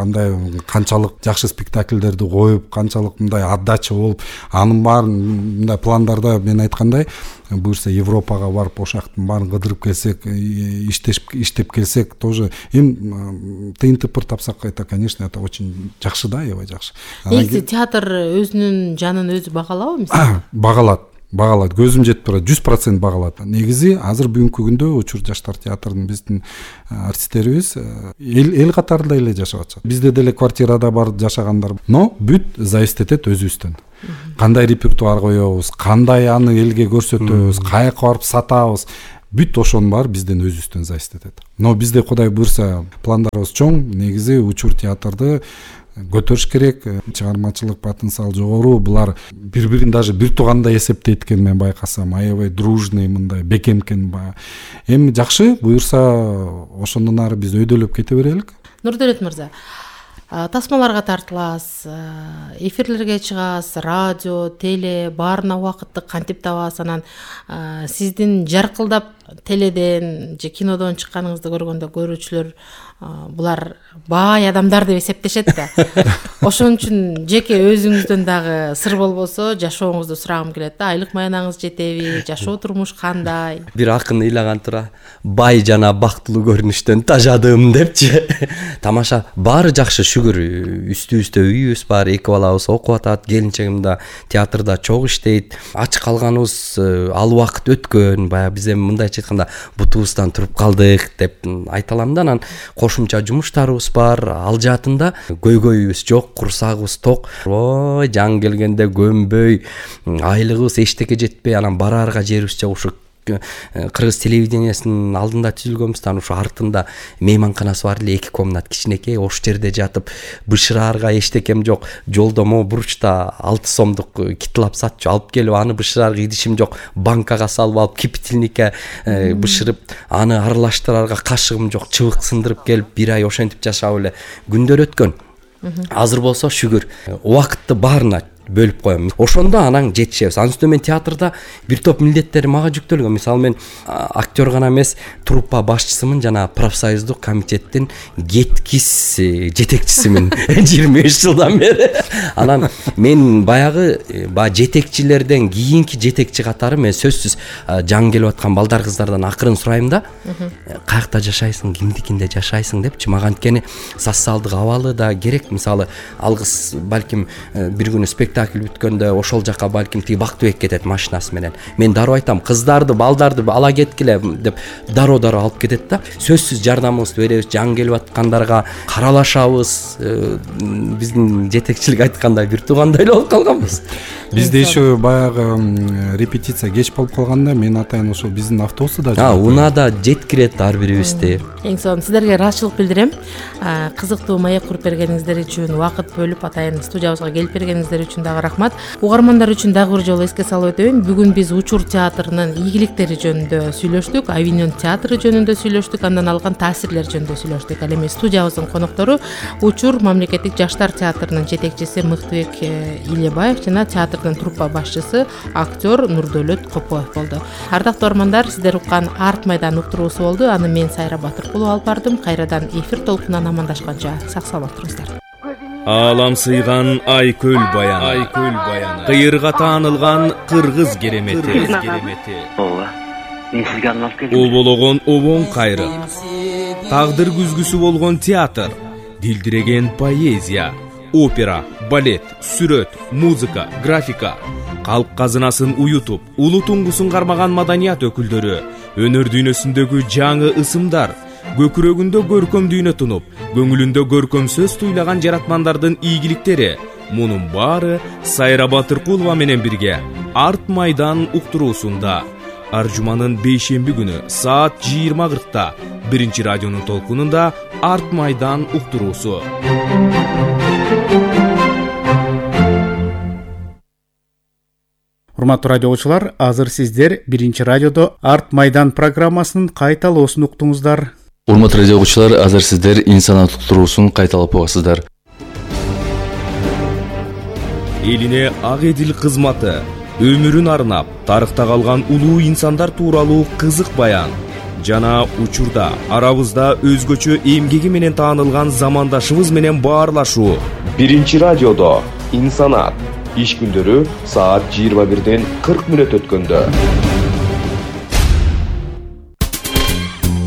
канчалык жакшы спектакльдерди коюп, канчалык мындай отдача болуп, анын баарын мындай пландарда мен айткандай буюрса Европага барып ошактын баарын кыдырып келсек, иштеп келсек, тоже эми тыйынтыпыр тапсак, это, конечно, это очень жакшы да, аябай жакшы. Негизи театр өзүнүн жанын өзү багалабы мисалы? Багалат. Көзүм жетип турат, 100% багалат. Негизи азыр бүгүнкү күндө Учур жаштар театрынын биздин артисттерибиз эл катарында эле жашап атышат. Бизде деле квартирада бар жашагандар, но бүт зависит этет өзүбүздөн. Кандай репертуар коебуз, кандай аны элге көрсөтөбүз, каяка барып сатабыз, бүт ошонун баары бизден өзүбүздөн зависит этет. Но бизде Кудай буйрса пландарыбыз чоң, негизи Учур театрды көтөрүш керек, чыгармачылык потенциал жогору, булар бири-бирин даже бир туугандай эсептейт экен, мен байкасам, аябай дружный, мындай бекем экен. Эми жакшы, буйрса ошондон ары биз өйдөлөп кете берелик. Нурдолет мырза, тасмаларга тартыласыз, эфирлерге чыгасыз, радио, теле, баарына убакытты кантип табасыз? Анан сиздин жаркылдап теледен же кинодон чыкканыңызды көргөндө көрүүчүлөр булар бай адамдар деп эсептешет да. Ошон үчүн жеке өзүңүздөн дагы сыр болбосо жашооңузду сурагым келет да. Айлык маянаңыз жетеби? Жашоо турмуш кандай? Бир акын ыйлаган тура, бай жана бактылуу көрүнүштөн тажадым депчи. Тамаша, баары жакшы, шүгүр. Үстүбүздө үйүбүз бар, эки балабыз окуп атат, келинчегим да театрда чогуу иштейт. Ач калганыбыз ал убакыт өткөн, баягы биз эми мындайча айтканда бутубуздан туруп калдык деп айта алам да. Анан кошумча жумуштарыбыз бар, ал жаатында көйгөйүбүз жок, курсагыбыз ток. Ой, жан келгенде көнбөй, айлыгыбыз эчтеке жетпей, анан бараарга жерибиз жок. Ушу Кыргыз телевидениясынын алдында түзүлгөнбүз, ушу артында мейманканасы бар эле, 2 комнат кичинекей, ош жерде жатып, бышыраарга эчтекем жок. Жолдо могу буручта 6 сомдук китлап сатчу алып келип, аны бышыраарга идишим жок, банкага салып алып, кипятильникке бышырып, аны аралаштыраарга кашыгым жок, чыбык сындырып келип, 1 ай ошентип жашап эле күндөр өткөн. Азыр болсо шүгүр, убакытты баарына бөлүп коем. Ошондо анан жетишебиз. Анын үстүнө мен театрда бир топ милдеттер мага жүктөлгөн. Мисалы, мен актер гана эмес, труппа башчысымын жана профсоюздук комитеттин кеткис жетекчисимин 25 жылдан бери. Анан мен баягы жетекчилерден кийинки жетекчи катары, мен сөзсүз жаңы келип аткан балдар кыздардан акырын сурайм да, каякта жашайсың, кимдикинде жашайсың депчи. Мага анткени социалдык абалы да керек. Мисалы, алгыс балким бир күнү спектакль бүткөндө ошол жака балким тиги Бактыбек кетет машинасы менен. Мен дароо айтам, кыздарды, балдарды ала кеткиле деп дароо алып кетет да. Сөзсүз жардамыбызды беребиз, жаңы келип аткандарга каралашабыз. Биздин жетекчилик айткандай бир туугандай эле болуп калганбыз. Бизде еще баягы репетиция кеч болуп калганда, мен атайын ошол биздин автобусту да унаада жеткирет ар бирибизди. Эң сонун сиздерге ыраазычылык билдирем. Кызыктуу маек куруп бергениңиздер үчүн, убакыт бөлүп атайын студиябызга келип бергениңиздер үчүн дагы рахмат. Угармандар үчүн дагы бир жолу эске салып өтөйүн. Бүгүн биз Учур театрынын ийгиликтери жөнүндө сүйлөштүк, Авиньон театры жөнүндө сүйлөштүк, андан алган таасирлер жөнүндө сүйлөштүк. Ал эми студиябыздын коноктору Учур мамлекеттик жаштар театрынын жетекчиси Мыктыбек Илебаев жана театрдын труппа башчысы актер Нурдолет Копоев болду. Ардактуу угармандар, сиздер уккан Арт майдан уктуруусу болду. Аны мен Сайра Батыркулова алып бардым. Кайрадан эфир толкунан амандашканча сак саламат туруңуздар. Алам сыйган Айкөл баяны, кыйырга таанылган кыргыз керемети. Ооба, мен сизге арналып келдим. Обологон обоң кайры, тагдыр күзгүсү болгон театр, дилдиреген поэзия, опера, балет, сүрөт, музыка, графика, калк казынасын уютуп, улуу туңгусун кармаган маданият өкүлдөрү, өнөр дүйнөсүндөгү жаңы ысымдар, көкүрөгүндө көркөм дүйнө тунуп, көңүлүндө көркөм сөз туйлаган жаратмандардын ийгиликтери. Мунун баары Сайра Батыркулова менен бирге Арт майдан уктуруусунда. Ар жуманын 5-шемби күнү саат 20:40-та 1-чи радионун толкунунда Арт майдан уктуруусу. Урматтуу радио угуучулар, азыр сиздер Биринчи радиодо Арт Майдан программасынын кайталоосун уктуңуздар. Урматтуу радио угуучулар, азыр сиздер инсанаттык туруусун кайталап угасыздар. Элине ак эдил кызматы, өмүрүн арнап, тарыхта калган улуу инсандар тууралуу кызык баян жана учурда арабызда өзгөчө эмгеги менен таанылган замандашыбыз менен баарлашуу. Биринчи радиодо инсанат иш күндөрү саат 21:40 өткөндө.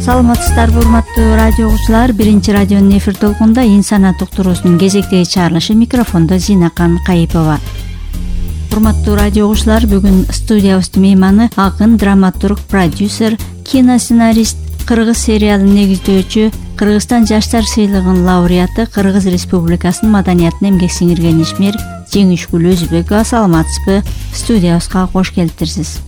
Саламатсыздарбы урматтуу радио угуучулар, Биринчи радионун эфир толкунда инсанат уктуруусунун кезектеги чыгарылышы, микрофондо Зинакан Кайыпова. Урматтуу радио угуучулар, бүгүн студиябыздын мейманы акын, драматург, продюсер, киносценарист, кыргыз сериалын негиздөөчү, Кыргызстан жаштар сыйлыгынын лауреаты, Кыргыз Республикасынын маданиятына эмгек сиңирген ишмер Жеңишгүл Өзбекова. Саламатсызбы? Студиябызга кош келиптирсиз.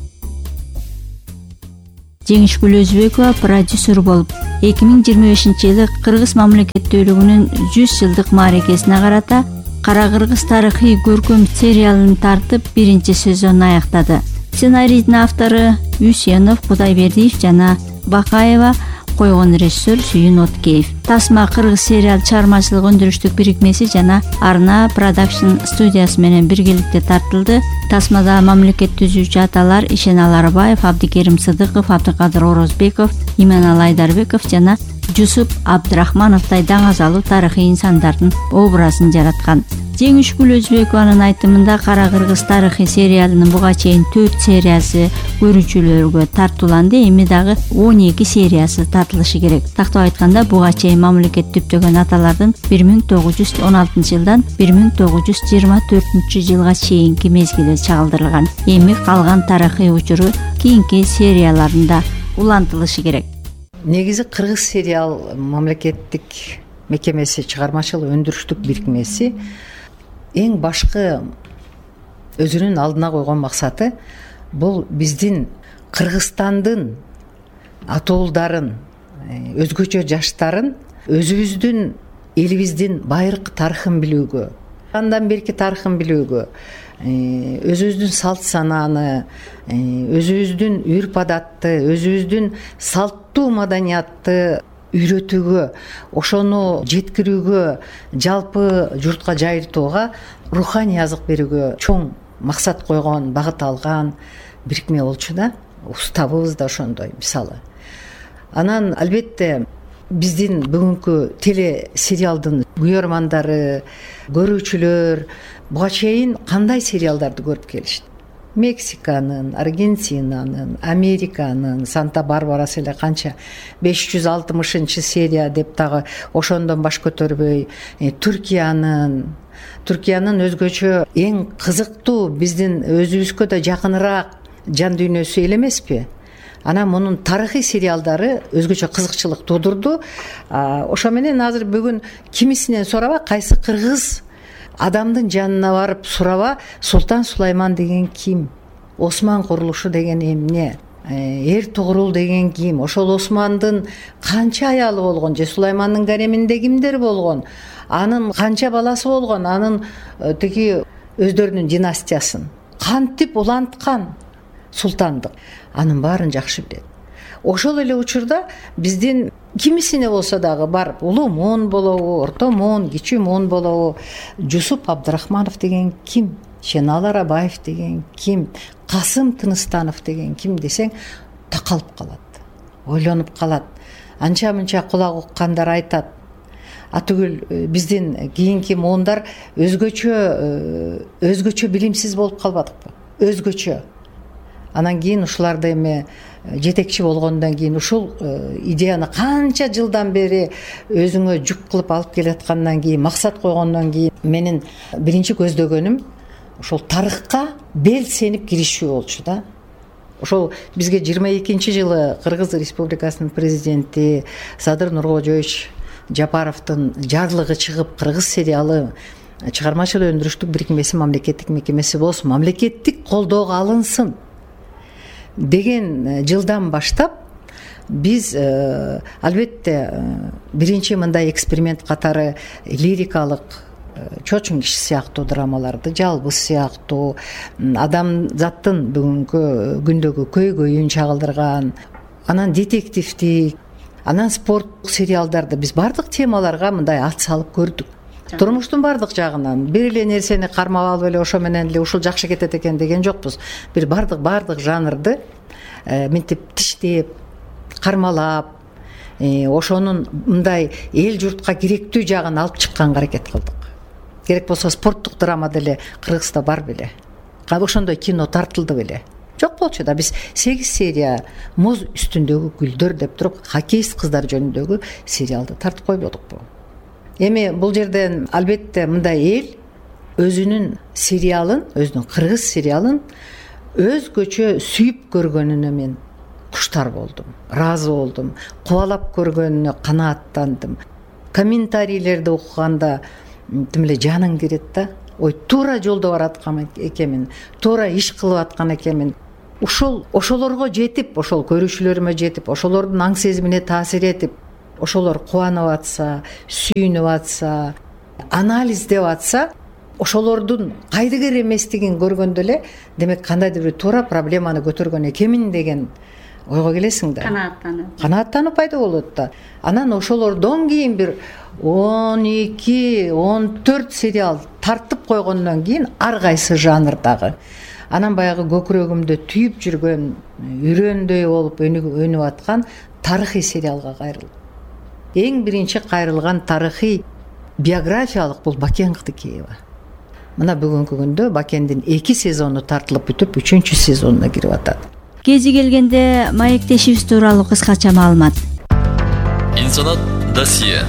Жеңишгүл Өзбекова продюсер болуп, 2025-жылы Кыргыз мамлекеттүүлүгүнүн 100 жылдык мааракесине карата Кара Кыргыз тарыхый көркөм сериалын тартып, биринчи сезонун аяктады. Сценарийдин автору Үсенов, Кудайбердиев жана Бакаева, койгон режиссер Сүйүн Откеев. Тасма Кыргыз сериал чыгармачылык өндүрүштүк бирикмеси жана Арна Продакшн студиясы менен биргеликте тартылды. Тасмада мамлекет түзүүчү аталар Ишен Аларбаев, Абдикерим Сыдыков, Абдыкадыр Орозбеков, Именал Айдарбеков жана Жусуп Абдрахмановдай даңазалуу тарыхый инсандардын образын жараткан. Жеңишгүл Өзбекованын айтымында Кара Кыргыз тарыхый сериалынын буга чейин 4 сериясы көрүүчүлөргө тартууланды, эми дагы 12 сериясы тартылышы керек. Тактап айтканда, буга чейин мамлекет түптөгөн аталардын 1916 жылдан 1924 жылга чейинки мезгили чагылдырылган. Эми калган тарыхый учуру кийинки серияларында улантылышы керек. Негизи Кыргыз сериал мамлекеттик мекемеси, чыгармачылык өндүрүштүк бирикмеси эң башкы өзүнүн алдына койгон максаты бул биздин Кыргызстандын атуулдарын, өзгөчө жаштарын өзүбүздүн элибиздин байыркы тарыхын билүүгө, андан берки тарыхын билүүгө, өзүбүздүн салт санааны, өзүбүздүн үрп адатты, өзүбүздүн салттуу маданиятты үйрөтүүгө, ошону жеткирүүгө, жалпы журтка жайылтууга, руханий азык берүүгө чоң максат койгон, багыт алган бирикме болчу да. Уставыбыз да ошондой, мисалы. Анан албетте биздин бүгүнкү теле сериалдын көрөрмандары, көрүүчүлөр буга чейин кандай сериалдарды көрүп келишти? Мексиканын, Аргентинанын, Американын, Санта-Барбарасы эле канча 560 серия деп дагы ошондон баш көтөрбөй, Түркиянын өзгөчө эң кызыктуу, биздин өзүбүзгө да жакыныраак жан дүйнөсү эл эмеспи? Анан мунун тарыхый сериалдары өзгөчө кызыкчылык туудурду. Ошо менен азыр бүгүн кимисинен сураба, кайсы кыргыз адамдын жанына барып сураба, Султан Сулайман деген ким? Осман курулушу деген эмне? Эр Тугрул деген ким? Ошол Османдын канча аялы болгон? Же Сулаймандын гареминде кимдер болгон? Анын канча баласы болгон? Анын тиги өздөрүнүн династиясын кантип уланткан султандык? Анын баарын жакшы билет. Ошол эле учурда биздин кимисине болсо дагы бар, улуу муун болобу, орто муун, кичүү муун болобу, Жусуп Абдрахманов деген ким? Шенал Арабаев деген ким? Касым Тыныстанов деген ким десең, такалып калат, ойлонуп калат. Анча-мынча кулак уккандар айтат. Атүгүл биздин кийинки муундар өзгөчө билимсиз болуп калбадыкпы? Өзгөчө. Анан кийин ушуларды эми жетекчи болгондон кийин, ушул идеяны канча жылдан бери өзүңө жүк кылып алып келаткандан кийин, максат койгондон кийин, менин биринчи көздөгөнүм ошол тарыхка белсенип киришүү болчу да. Ошол бизге 22-жылы Кыргыз Республикасынын президенти Садыр Нуркожоевич Жапаровдун жарлыгы чыгып, Кыргыз сериалы чыгармачылык өндүрүштүк бирикмеси мамлекеттик мекемеси болсун, мамлекеттик колдоого алынсын деген жылдан баштап биз албетте биринчи мындай эксперимент катары лирикалык чоочун киши сыяктуу драмаларды, жалбыз сыяктуу, адамзаттын бүгүнкү күндөгү көйгөйүн чагылдырган, анан детективдик, анан спорттук сериалдарды биз баардык темаларга мындай ат салып көрдүк. Турмуштун баардык жагынан бир эле нерсени кармап алып эле ошо менен эле ушул жакшы кетет экен деген жокпуз. Бир баардык жанрды мынтип тиштеп, кармалап, ошонун мындай эл журтка керектүү жагын алып чыкканга аракет кылдык. Керек болсо спорттук драма деле Кыргызда бар беле? Ошондой кино тартылды беле? Жок болчу да. Биз 8 серия Муз үстүндөгү гүлдөр деп туруп хоккеист кыздар жөнүндөгү сериалды тартып койбодукпу? Эми бул жерден албетте мындай эл өзүнүн сериалын, өзүнүн кыргыз сериалын өзгөчө сүйүп көргөнүнө мен куштар болдум, ыраазы болдум, кубалап көргөнүнө канааттандым. Комментарийлерди окуганда тим эле жаның кирет да. Ой, туура жолдо бараткан экенмин, туура иш кылып аткан экенмин. Ошолорго жетип, ошол көрүүчүлөрүмө жетип, ошолордун аң сезимине таасир этип, ошолор кубанып атса, сүйүнүп атса, анализдеп атса, ошолордун кайдыгер эместигин көргөндө эле, демек кандайдыр бир туура проблеманы көтөргөн экенмин деген ойго келесиң да. Канааттануу пайда болот да. Анан ошолордон кийин бир 12-14 сериал тартып койгондон кийин ар кайсы жанрдагы, анан баягы көкүрөгүмдө түйүп жүргөн, үрөндөй болуп өнүп аткан тарыхый сериалга кайрылдым. Эң биринчи кайрылган тарыхый биографиялык бул Бакен Кыдыкеева. Мына бүгүнкү күндө Бакендин 2 сезону тартылып бүтүп, 3-чү сезонуна кирип атат. Кези келгенде маектешибиз тууралуу кыскача маалымат. Инсанат досье.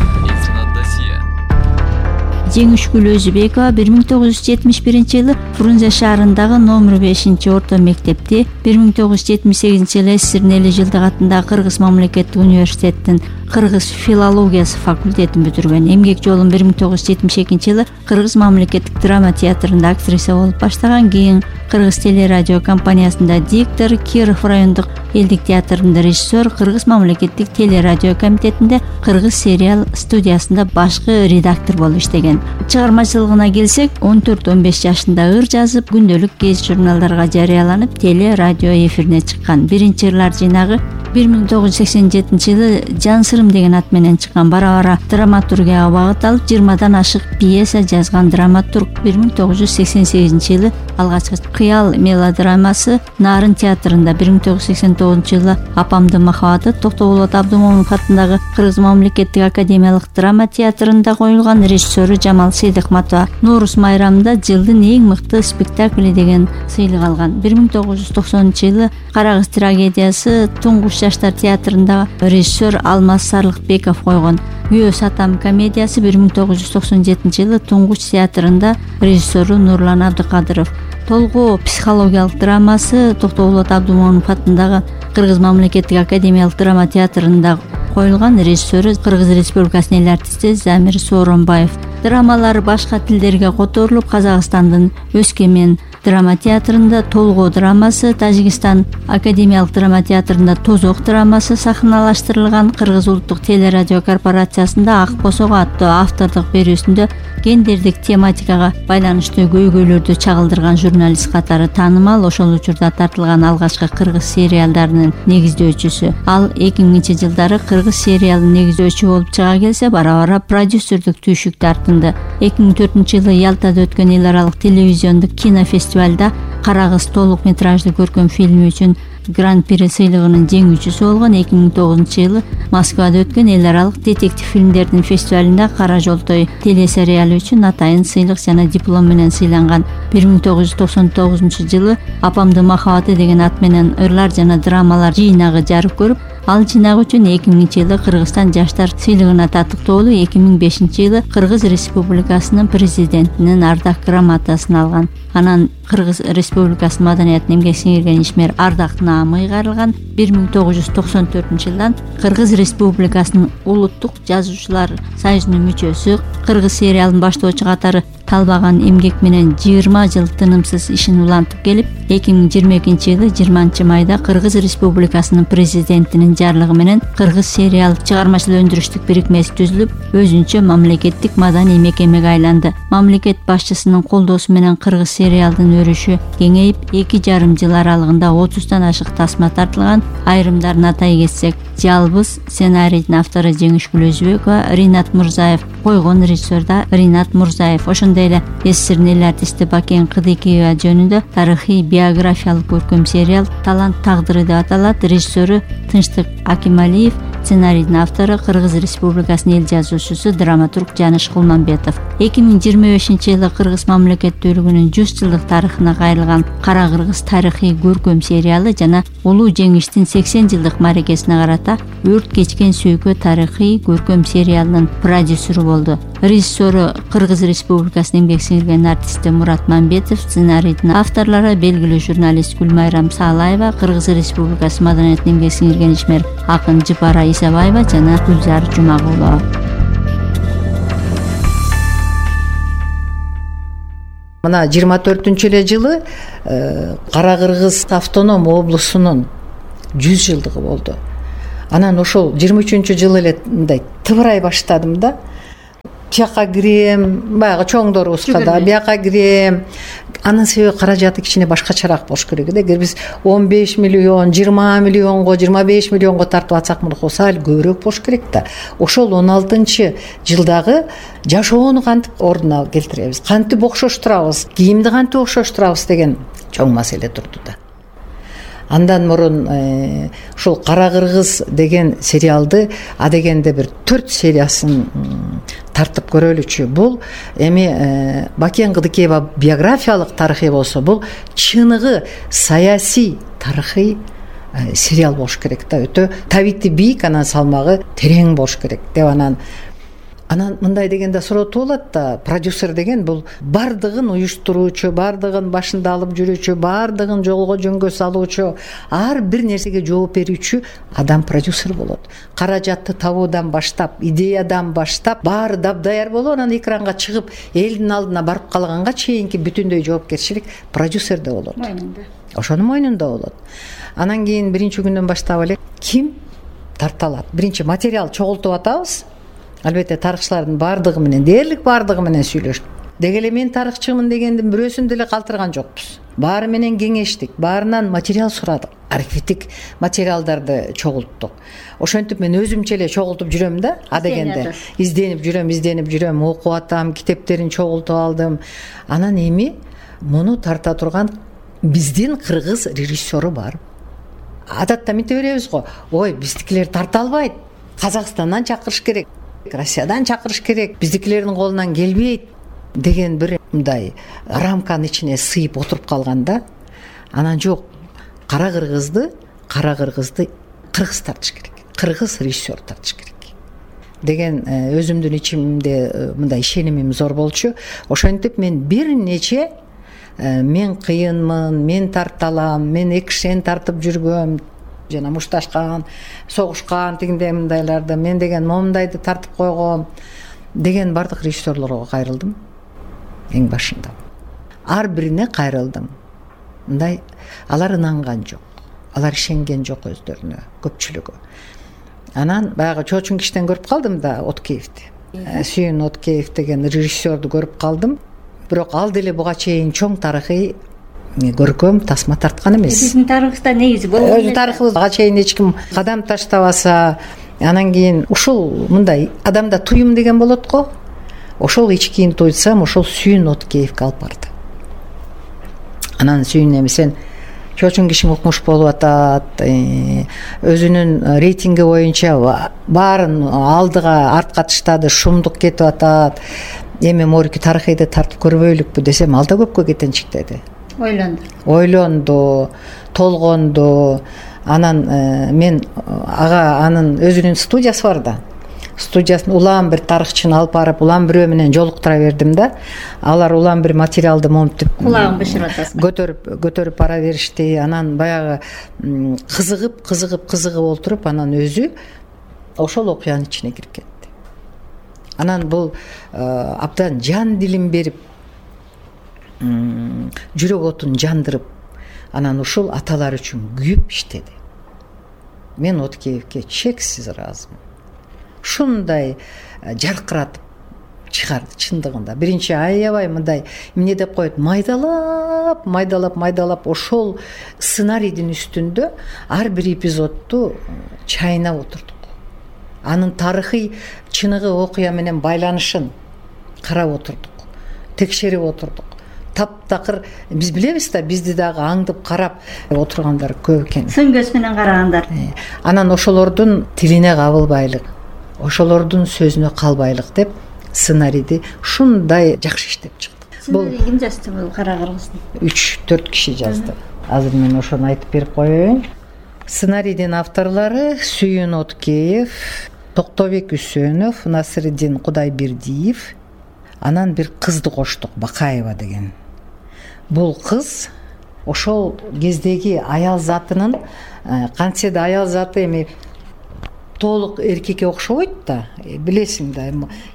Жеңишгүл Өзүбекова 1971-жылы Фрунзе шаарындагы номер 5-орто мектепти, 1978-жылы СССР Эли жылдык атындагы Кыргыз мамлекеттик университеттин кыргыз филологиясы факультетин бүтүргөн. Эмгек жолун 1972-жылы Кыргыз мамлекеттик драма театрында актриса болуп баштаган, кийин Кыргыз телерадио компаниясында диктор, Киров райондук элдик театрында режиссер, Кыргыз мамлекеттик телерадио комитетинде Кыргыз сериал студиясында башкы редактор болуп иштеген. Чыгармачылыгына келсек, 14-15 жашында ыр жазып, күндөлүк гезит журналдарга жарыяланып, телерадио эфирине чыккан. Биринчи ырлар жыйнагы 1987-жылы Жан сырым деген ат менен чыккан. Бара-бара драматургияга багыт алып, 20дан ашык пьеса жазган драматург. 1988-жылы алгачкы Кыял мелодрамасы Нарын театрында, 1989-жылы Апамдын махабаты Токтоболот Абдымомунов атындагы Кыргыз мамлекеттик академиялык драма театрында коюлган. Режиссеру Жамал Сейдихматова Норус майрамында жылдын эң мыкты спектакли деген сыйлык алган. 1990-жылы Кара кыз трагедиясы Туңгуш жаштар театрында режиссер Алмаз Сарлыкбеков койгон. Күйөө сатам комедиясы 1997-жылы Туңгуч театрында режиссеру Нурлан Абдыкадыров. Толгоо психологиялык драмасы Токтоболот Абдымомунов атындагы Кыргыз мамлекеттик академиялык драма театрында коюлган. Режиссеру Кыргыз Республикасынын эл артисти Замир Сооронбаев. Драмалары башка тилдерге которулуп, Казакстандын Өскемен драма театрында Толгоо драмасы, Тажикстан академиялык драма театрында Тозок драмасы сахналаштырылган. Кыргыз улуттук телерадио корпорациясында Ак босого аттуу автордук берүүсүндө гендердик тематикага байланыштуу көйгөйлөрдү чагылдырган журналист катары таанымал. Ошол учурда тартылган алгачкы кыргыз сериалдарынын негиздөөчүсү. Ал 2000-жылдары кыргыз сериалын негиздөөчү болуп чыга келсе, бара-бара продюсердик түйшүктү артынды. 2004-жылы Ялтада өткөн эл аралык телевизиондук кинофестивалда Кара кыз толук метраждуу көркөм фильми үчүн Гран-при сыйлыгынын жеңүүчүсү болгон. 2009-жылы Москвада өткөн эл аралык детектив фильмдердин фестивалында Кара жолтой телесериалы үчүн атайын сыйлык жана диплом менен сыйланган. 1999-жылы Апамдын махабаты деген ат менен ырлар жана драмалар жыйнагы жарык көрүп, ал жыйнак үчүн 2000-жылы Кыргызстан жаштар сыйлыгына татыктоолуу, 2005-жылы Кыргыз Республикасынын президентинин ардак грамотасын алган. Анан Кыргыз Республикасынын маданиятына эмгек сиңирген ишмер ардак наамы ыйгарылган. 1994-жылдан Кыргыз Республикасынын улуттук жазуучулар союзунун мүчөсү, Кыргыз сериалын баштоочу катары талбаган эмгек менен 20 жыл тынымсыз ишин улантып келип, 2022-жылы 20 майда Кыргыз Республикасынын президентинин жарлыгы менен Кыргыз сериал чыгармачыл өндүрүштүк бирикмеси түзүлүп, өзүнчө мамлекеттик маданий мекемеге айланды. Мамлекет башчысынын колдоосу менен кыргыз сериалдын өрүшү кеңейип, 2,5 жыл аралыгында 30тан ашык тасма тартылган. Айрымдарын атай кетсек, Жалбыз сценарийдин автору Жеңишгүл Өзбекова, Ринат Мурзаев, койгон режиссер да Ринат Мурзаев, ошондой эле СССРдин эл артисти Бакен Кыдыкиева жөнүндө тарыхый биографиялык көркөм сериал Талант тагдыры деп аталат. Режиссеру Тынчтык Акималиев, сценарийдин автору Кыргыз Республикасынын эл жазуучусу, драматург Жаныш Кулманбетов. 2025-жылы Кыргыз мамлекеттүүлүгүнүн 100 жылдык тарыхына кайрылган Кара Кыргыз тарыхый көркөм сериалы жана улуу жеңиштин 80 жылдык мааракесине карата Өрт кечкен сүйкө тарыхый көркөм сериалынын продюсеру болду. Режиссеру Кыргыз Республикасынын эмгек сиңирген артисти Мурат Мамбетов, сценарийдин авторлору белгилүү журналист Гүлмайрам Саалаева, Кыргыз Республикасы маданиятынын эмгек сиңирген ишмер акын Жыпара Исабаева жана Гүлзар Жумагулова. Мына 24-эле жылы Кара Кыргыз автоном облусунун 100 жылдыгы болду. Анан ошол 23-жылы эле мындай тыбырай баштадым да. Тияка кирем, баягы чоңдорубузга да бияка кирем. Анын себеби каражаты кичине башкачараак болуш керек да. Эгер биз 15 миллион, 20 миллионго, 25 миллионго тартып атсак, муну сал көбүрөөк болуш керек да. Ошол 16-жылдагы жашоону кантип ордуна келтиребиз, кантип окшоштурабыз, кийимди кантип окшоштурабыз деген чоң маселе турду да. Андан мурун ушул Кара Кыргыз деген сериалды адегенде бир 4 сериясын тартып көрөлүчү. Бул эми Бакен Кыдыкиева биографиялык тарыхый болсо, бул чыныгы саясий тарыхый сериал болуш керек да. Өтө табити бийик, анан салмагы терең болуш керек деп анан мындай дегенде суроо болот да, продюсер деген бул бардыгын уюштуруучу, бардыгын башында алып жүрүүчү, бардыгын жолго жөнгө салуучу, ар бир нерсеге жооп берүүчү адам продюсер болот. Каражатты табуудан баштап, идеядан баштап, баары дапдаяр болуп, анан экранга чыгып, элдин алдына барып калганга чейинки бүтүндөй жоопкерчилик продюсерде болот. Ошонун мойнунда болот. Анан кийин биринчи күндөн баштап эле ким тарталат? Биринчи материал чогултуп атабыз. Албетте тарыхчылардын бардыгы менен, дээрлик бардыгы менен сүйлөштүк. Деги эле мен тарыхчымын дегендин бирөөсүн деле калтырган жокпуз. Баары менен кеңештик, баарынан материал сурадык, архивдик материалдарды чогулттук. Ошентип мен өзүмчө эле чогултуп жүрөм да, адегенде. Изденип жүрөм, окуп атам, китептерин чогултуп алдым. Анан эми муну тарта турган биздин кыргыз режиссеру бар. Адатта мынтип беребиз го, ой, биздикилер тарта албайт, Казакстандан чакырыш керек, Россиядан чакырыш керек, биздикилердин колунан келбейт деген бир мындай рамканын ичине сыйып отуруп калган да. Анан жок, Кара Кыргызды кыргыз тартыш керек, кыргыз режиссер тартыш керек деген өзүмдүн ичимде мындай ишенимим зор болчу. Ошентип мен бир нече мен кыйынмын, мен тарталам, мен экшен тартып жүргөм, жана мушташкан, согушкан тигиндей мындайларды, мен деген момундайды тартып койгом деген бардык режиссерлорго кайрылдым. Эң башында ар бирине кайрылдым. Мындай алар ынанган жок, алар ишенген жок өздөрүнө, көпчүлүгү. Анан баягы чоочун киштен көрүп калдым да, Откеевди. Сүйүн Откеев деген режиссерду көрүп калдым. Бирок ал деле буга чейин чоң тарыхый көркөм тасма тарткан эмес. Биздин тарыхта негизи болгон. Өзү тарыхыбызга чейин эч ким кадам таштабаса, анан кийин ушул мындай адамда туюм деген болот го. Ошол ичкиин туйсам, ошол Сүйүн Откеевге алып барды. Анан Сүйүн эми сен чоочун кишиң укмуш болуп атат, өзүнүн рейтинги боюнча баарын алдыга артка таштады, шумдук кетип атат. Эми морки тарыхыйды тартып көрбөйлүкпү десем, ал да көпкө кетенчик деди. Ойлонду, толгонду. Анан мен ага анын өзүнүн студиясы бар да. Студиясын улам бир тарыхчыны алып барып, улам бирөө менен жолуктура бердим да. Алар улам бир материалды момтип кулагын бышырып атасың. Көтөрүп бара беришти. Анан баягы кызыгып олтуруп, анан өзү ошол окуянын ичине кирип кетти. Анан бул абдан жан дилин берип жүрөк отун жандырып анан ушул аталар үчүн күйүп иштеди. Мен Откеевке чексиз ыраазымын. Ушундай жаркыратып чыгарды чындыгында. Биринчи аябай мындай эмне деп коет, майдалап ошол сценарийдин үстүндө ар бир эпизодду чайнап отурдук. Анын тарыхый чыныгы окуя менен байланышын карап отурдук, текшерип отурдук. Таптакыр биз билебиз да, бизди дагы аңдып карап отургандар көп экен. Сын көз менен карагандар. Анан ошолордун тилине кабылбайлык, ошолордун сөзүнө калбайлык деп сценарийди ушундай жакшы иштеп чыкты. Сценарий ким жазды бул Кара кыргыздын? 3-4 киши жазды. Азыр мен ошону айтып берип коеюн. Сценарийдин авторлору Сүйүн Откеев, Токтобек Үсөнов, Насырдин Кудайбердиев. Анан бир кызды коштук, Бакаева деген. Бул кыз ошол кездеги аял затынын, кантсе да аял заты эми толук эркекке окшобойт да, билесиң да,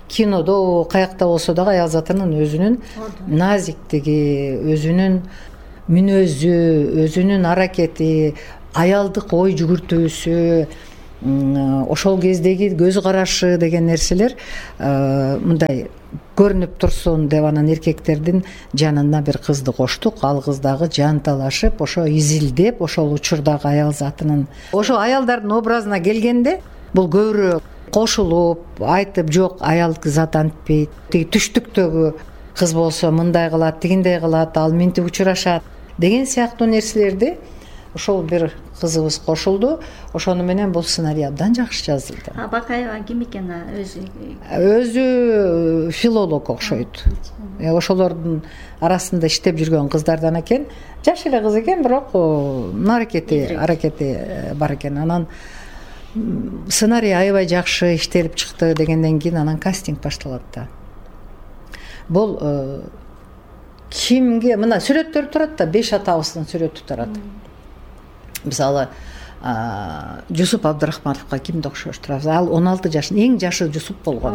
кинодо каякта болсо дагы аял затынын өзүнүн назиктиги, өзүнүн мүнөзү, өзүнүн аракети, аялдык ой жүгүртүүсү, ошол кездеги көз карашы деген нерселер мындай көрүнүп турсун деп анан эркектердин жанына бир кызды коштук. Ал кыз дагы жан талашып, ошо изилдеп, ошол учурдагы аял затынын, ошо аялдардын образына келгенде бул көбүрөөк кошулуп айтып, жок, аял зат антпейт, тиги түштүктөгү кыз болсо мындай кылат, тигиндей кылат, ал минтип учурашат деген сыяктуу нерселерди ошол бир кызыбыз кошулду. Ошону менен бул сценарий абдан жакшы жазылды. Бакаева ким экен өзү? Өзү филолог окшойт. Ошолордун арасында иштеп жүргөн кыздардан экен. Жаш эле кыз экен, бирок аракети бар экен. Анан сценарий аябай жакшы иштелип чыкты дегенден кийин анан кастинг башталат да. Бул кимге, мына сүрөттөр турат да, 5 атабыздын сүрөтү турат. Мисалы, Жусуп Абдырахмановго кимди окшош турабыз? Ал 16 жашында, эң жашы Жусуп болгон.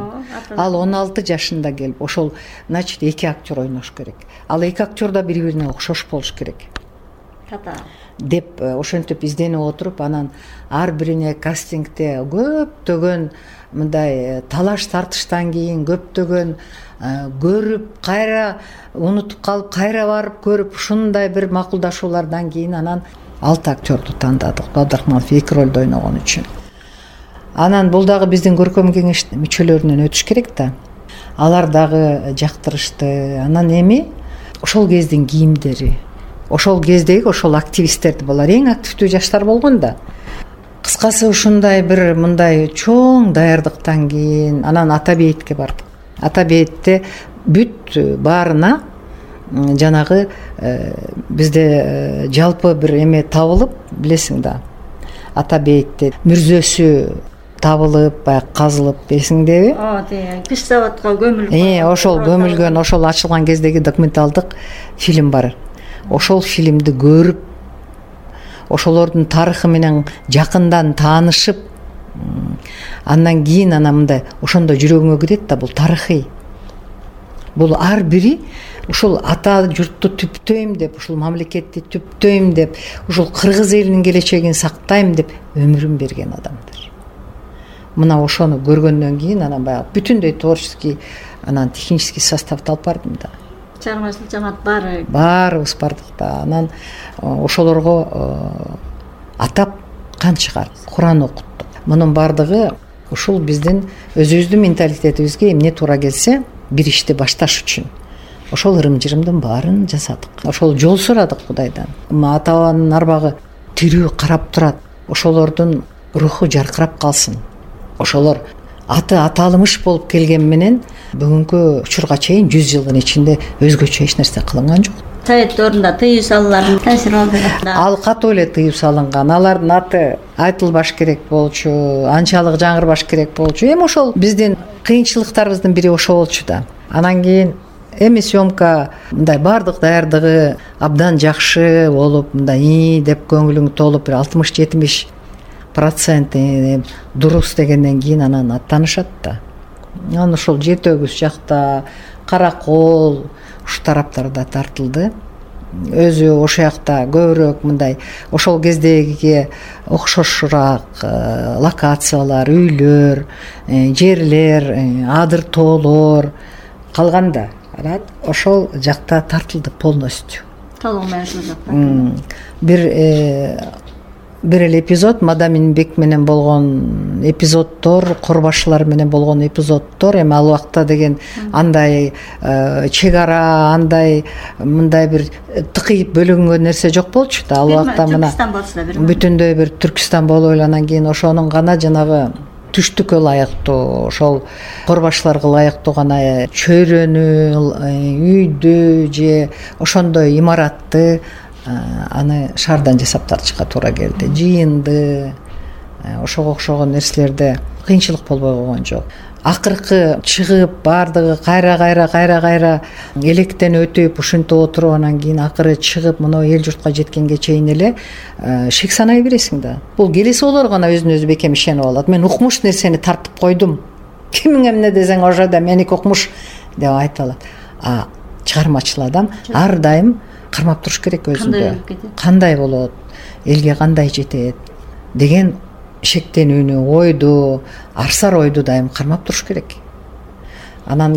Ал 16 жашында келип, ошол, значит, 2 актер ойнош керек. Ал 2 актер да бири-бирине окшош болуш керек. Деп ошентип изденип отуруп, анан ар бирине кастингде көптөгөн мындай талаш тартыштан кийин, көптөгөн көрүп, кайра унутуп калып, кайра барып көрүп, ушундай бир макулдашуулардан кийин анан 6 актерду тандадык, Абдырахманов 2 ролду ойногон үчүн. Анан бул дагы биздин көркөм кеңеш мүчөлөрүнөн өтүш керек да. Алар дагы жактырышты. Анан эми ошол кездин кийимдери, ошол кездеги ошол активисттерди, булар эң активдүү жаштар болгон да. Кыскасы ушундай бир мындай чоң даярдыктан кийин анан Ата бейитке бардык. Ата бейитте бүт баарына жанагы бизде жалпы бир эме табылып, билесиң да. Ата бейитте мүрзөсү табылып, баягы казылып, билесиңдеби? Пиш заводко көмүлгөн. Ошол көмүлгөн, ошол ачылган кездеги документалдык фильм бар. Ошол фильмди көрүп, ошолордун тарыхы менен жакындан таанышып, андан кийин мындай ошондо жүрөгүңө кирет да, бул тарыхый. Бул ар бири ушул ата журтту түптөйм деп, ушул мамлекетти түптөйм деп, ушул кыргыз элинин келечегин сактайм деп өмүрүн берген адамдар. Мына ошону көргөндөн кийин анан баягы бүтүндөй творческий, анан технический составды алып бардым да. Чыгармачылык жамаат баарыбыз бардык да. Анан ошолорго атап кан чыгардык, Куран окуттук. Мунун бардыгы ушул биздин өзүбүздүн менталитетибизге эмне туура келсе, бир ишти башташ үчүн ошол ырым-жырымдын баарын жасадык. Ошол жол сурадык Кудайдан. Ата-бабанын арбагы тирүү карап турат. Ошолордун руху жаркырап калсын. Ошолор аты аталмыш болуп келген менен бүгүнкү учурга чейин 100 жылдын ичинде өзгөчө эч нерсе кылынган жок. Совет орунда тыюу салуулардын таасири болду. Ал катуу эле тыюу салынган. Алардын аты айтылбаш керек болчу, анчалык жаңырбаш керек болчу. Эми ошол биздин кыйынчылыктарыбыздын бири ошол болчу да. Анан кийин эми съемка мындай бардык даярдыгы абдан жакшы болуп, мындай деп көңүлүң толуп, бир 60-70% дурус дегенден кийин анан аттанышат да. анан ошол Жети Өгүз жакта, Каракол ушу тараптарда тартылды. Өзү ошол жакта көбүрөөк мындай ошол кездеги окшошураак локациялар, үйлөр, жерлер, адыр тоолор калганда ошол жакта тартылды полностью. Толугу менен ошол жакта. Бир эле эпизод Мадам Инбек менен болгон эпизоддор, Корбашылар менен болгон эпизоддор, эми ал убакта деген андай чек ара, андай мындай бир тыкыйып бөлүнгөн нерсе жок болчу да. Ал убакта мына бүтүндөй бир Түркистан болуп эле анан кийин ошонун гана жанагы түштүккө ылайыктуу, ошол Корбашыларга ылайыктуу гана чөйрөнү, үйдү же ошондой имаратты аны шаардан жасап тартышка туура келди. Жыйынды, ошого окшогон нерселерде кыйынчылык болбой койгон жок. Акыркы чыгып баардыгы кайра электен өтүп, ушинтип отуруп, анан кийин акыры чыгып мына эл журтка жеткенге чейин эле шек санай бересиң да. Бул келеси болор гана өзүнө өзү бекем ишенип алат. Мен укмуш нерсени тартып койдум. Кимиңе эмне десең ошо да меники укмуш деп айтып алат. Чыгармачыл адам ар дайым кармап туруш керек өзүндө. Кандай болот, элге кандай жетет деген шектенүүнү, ойду, арсар ойду дайым кармап туруш керек. Анан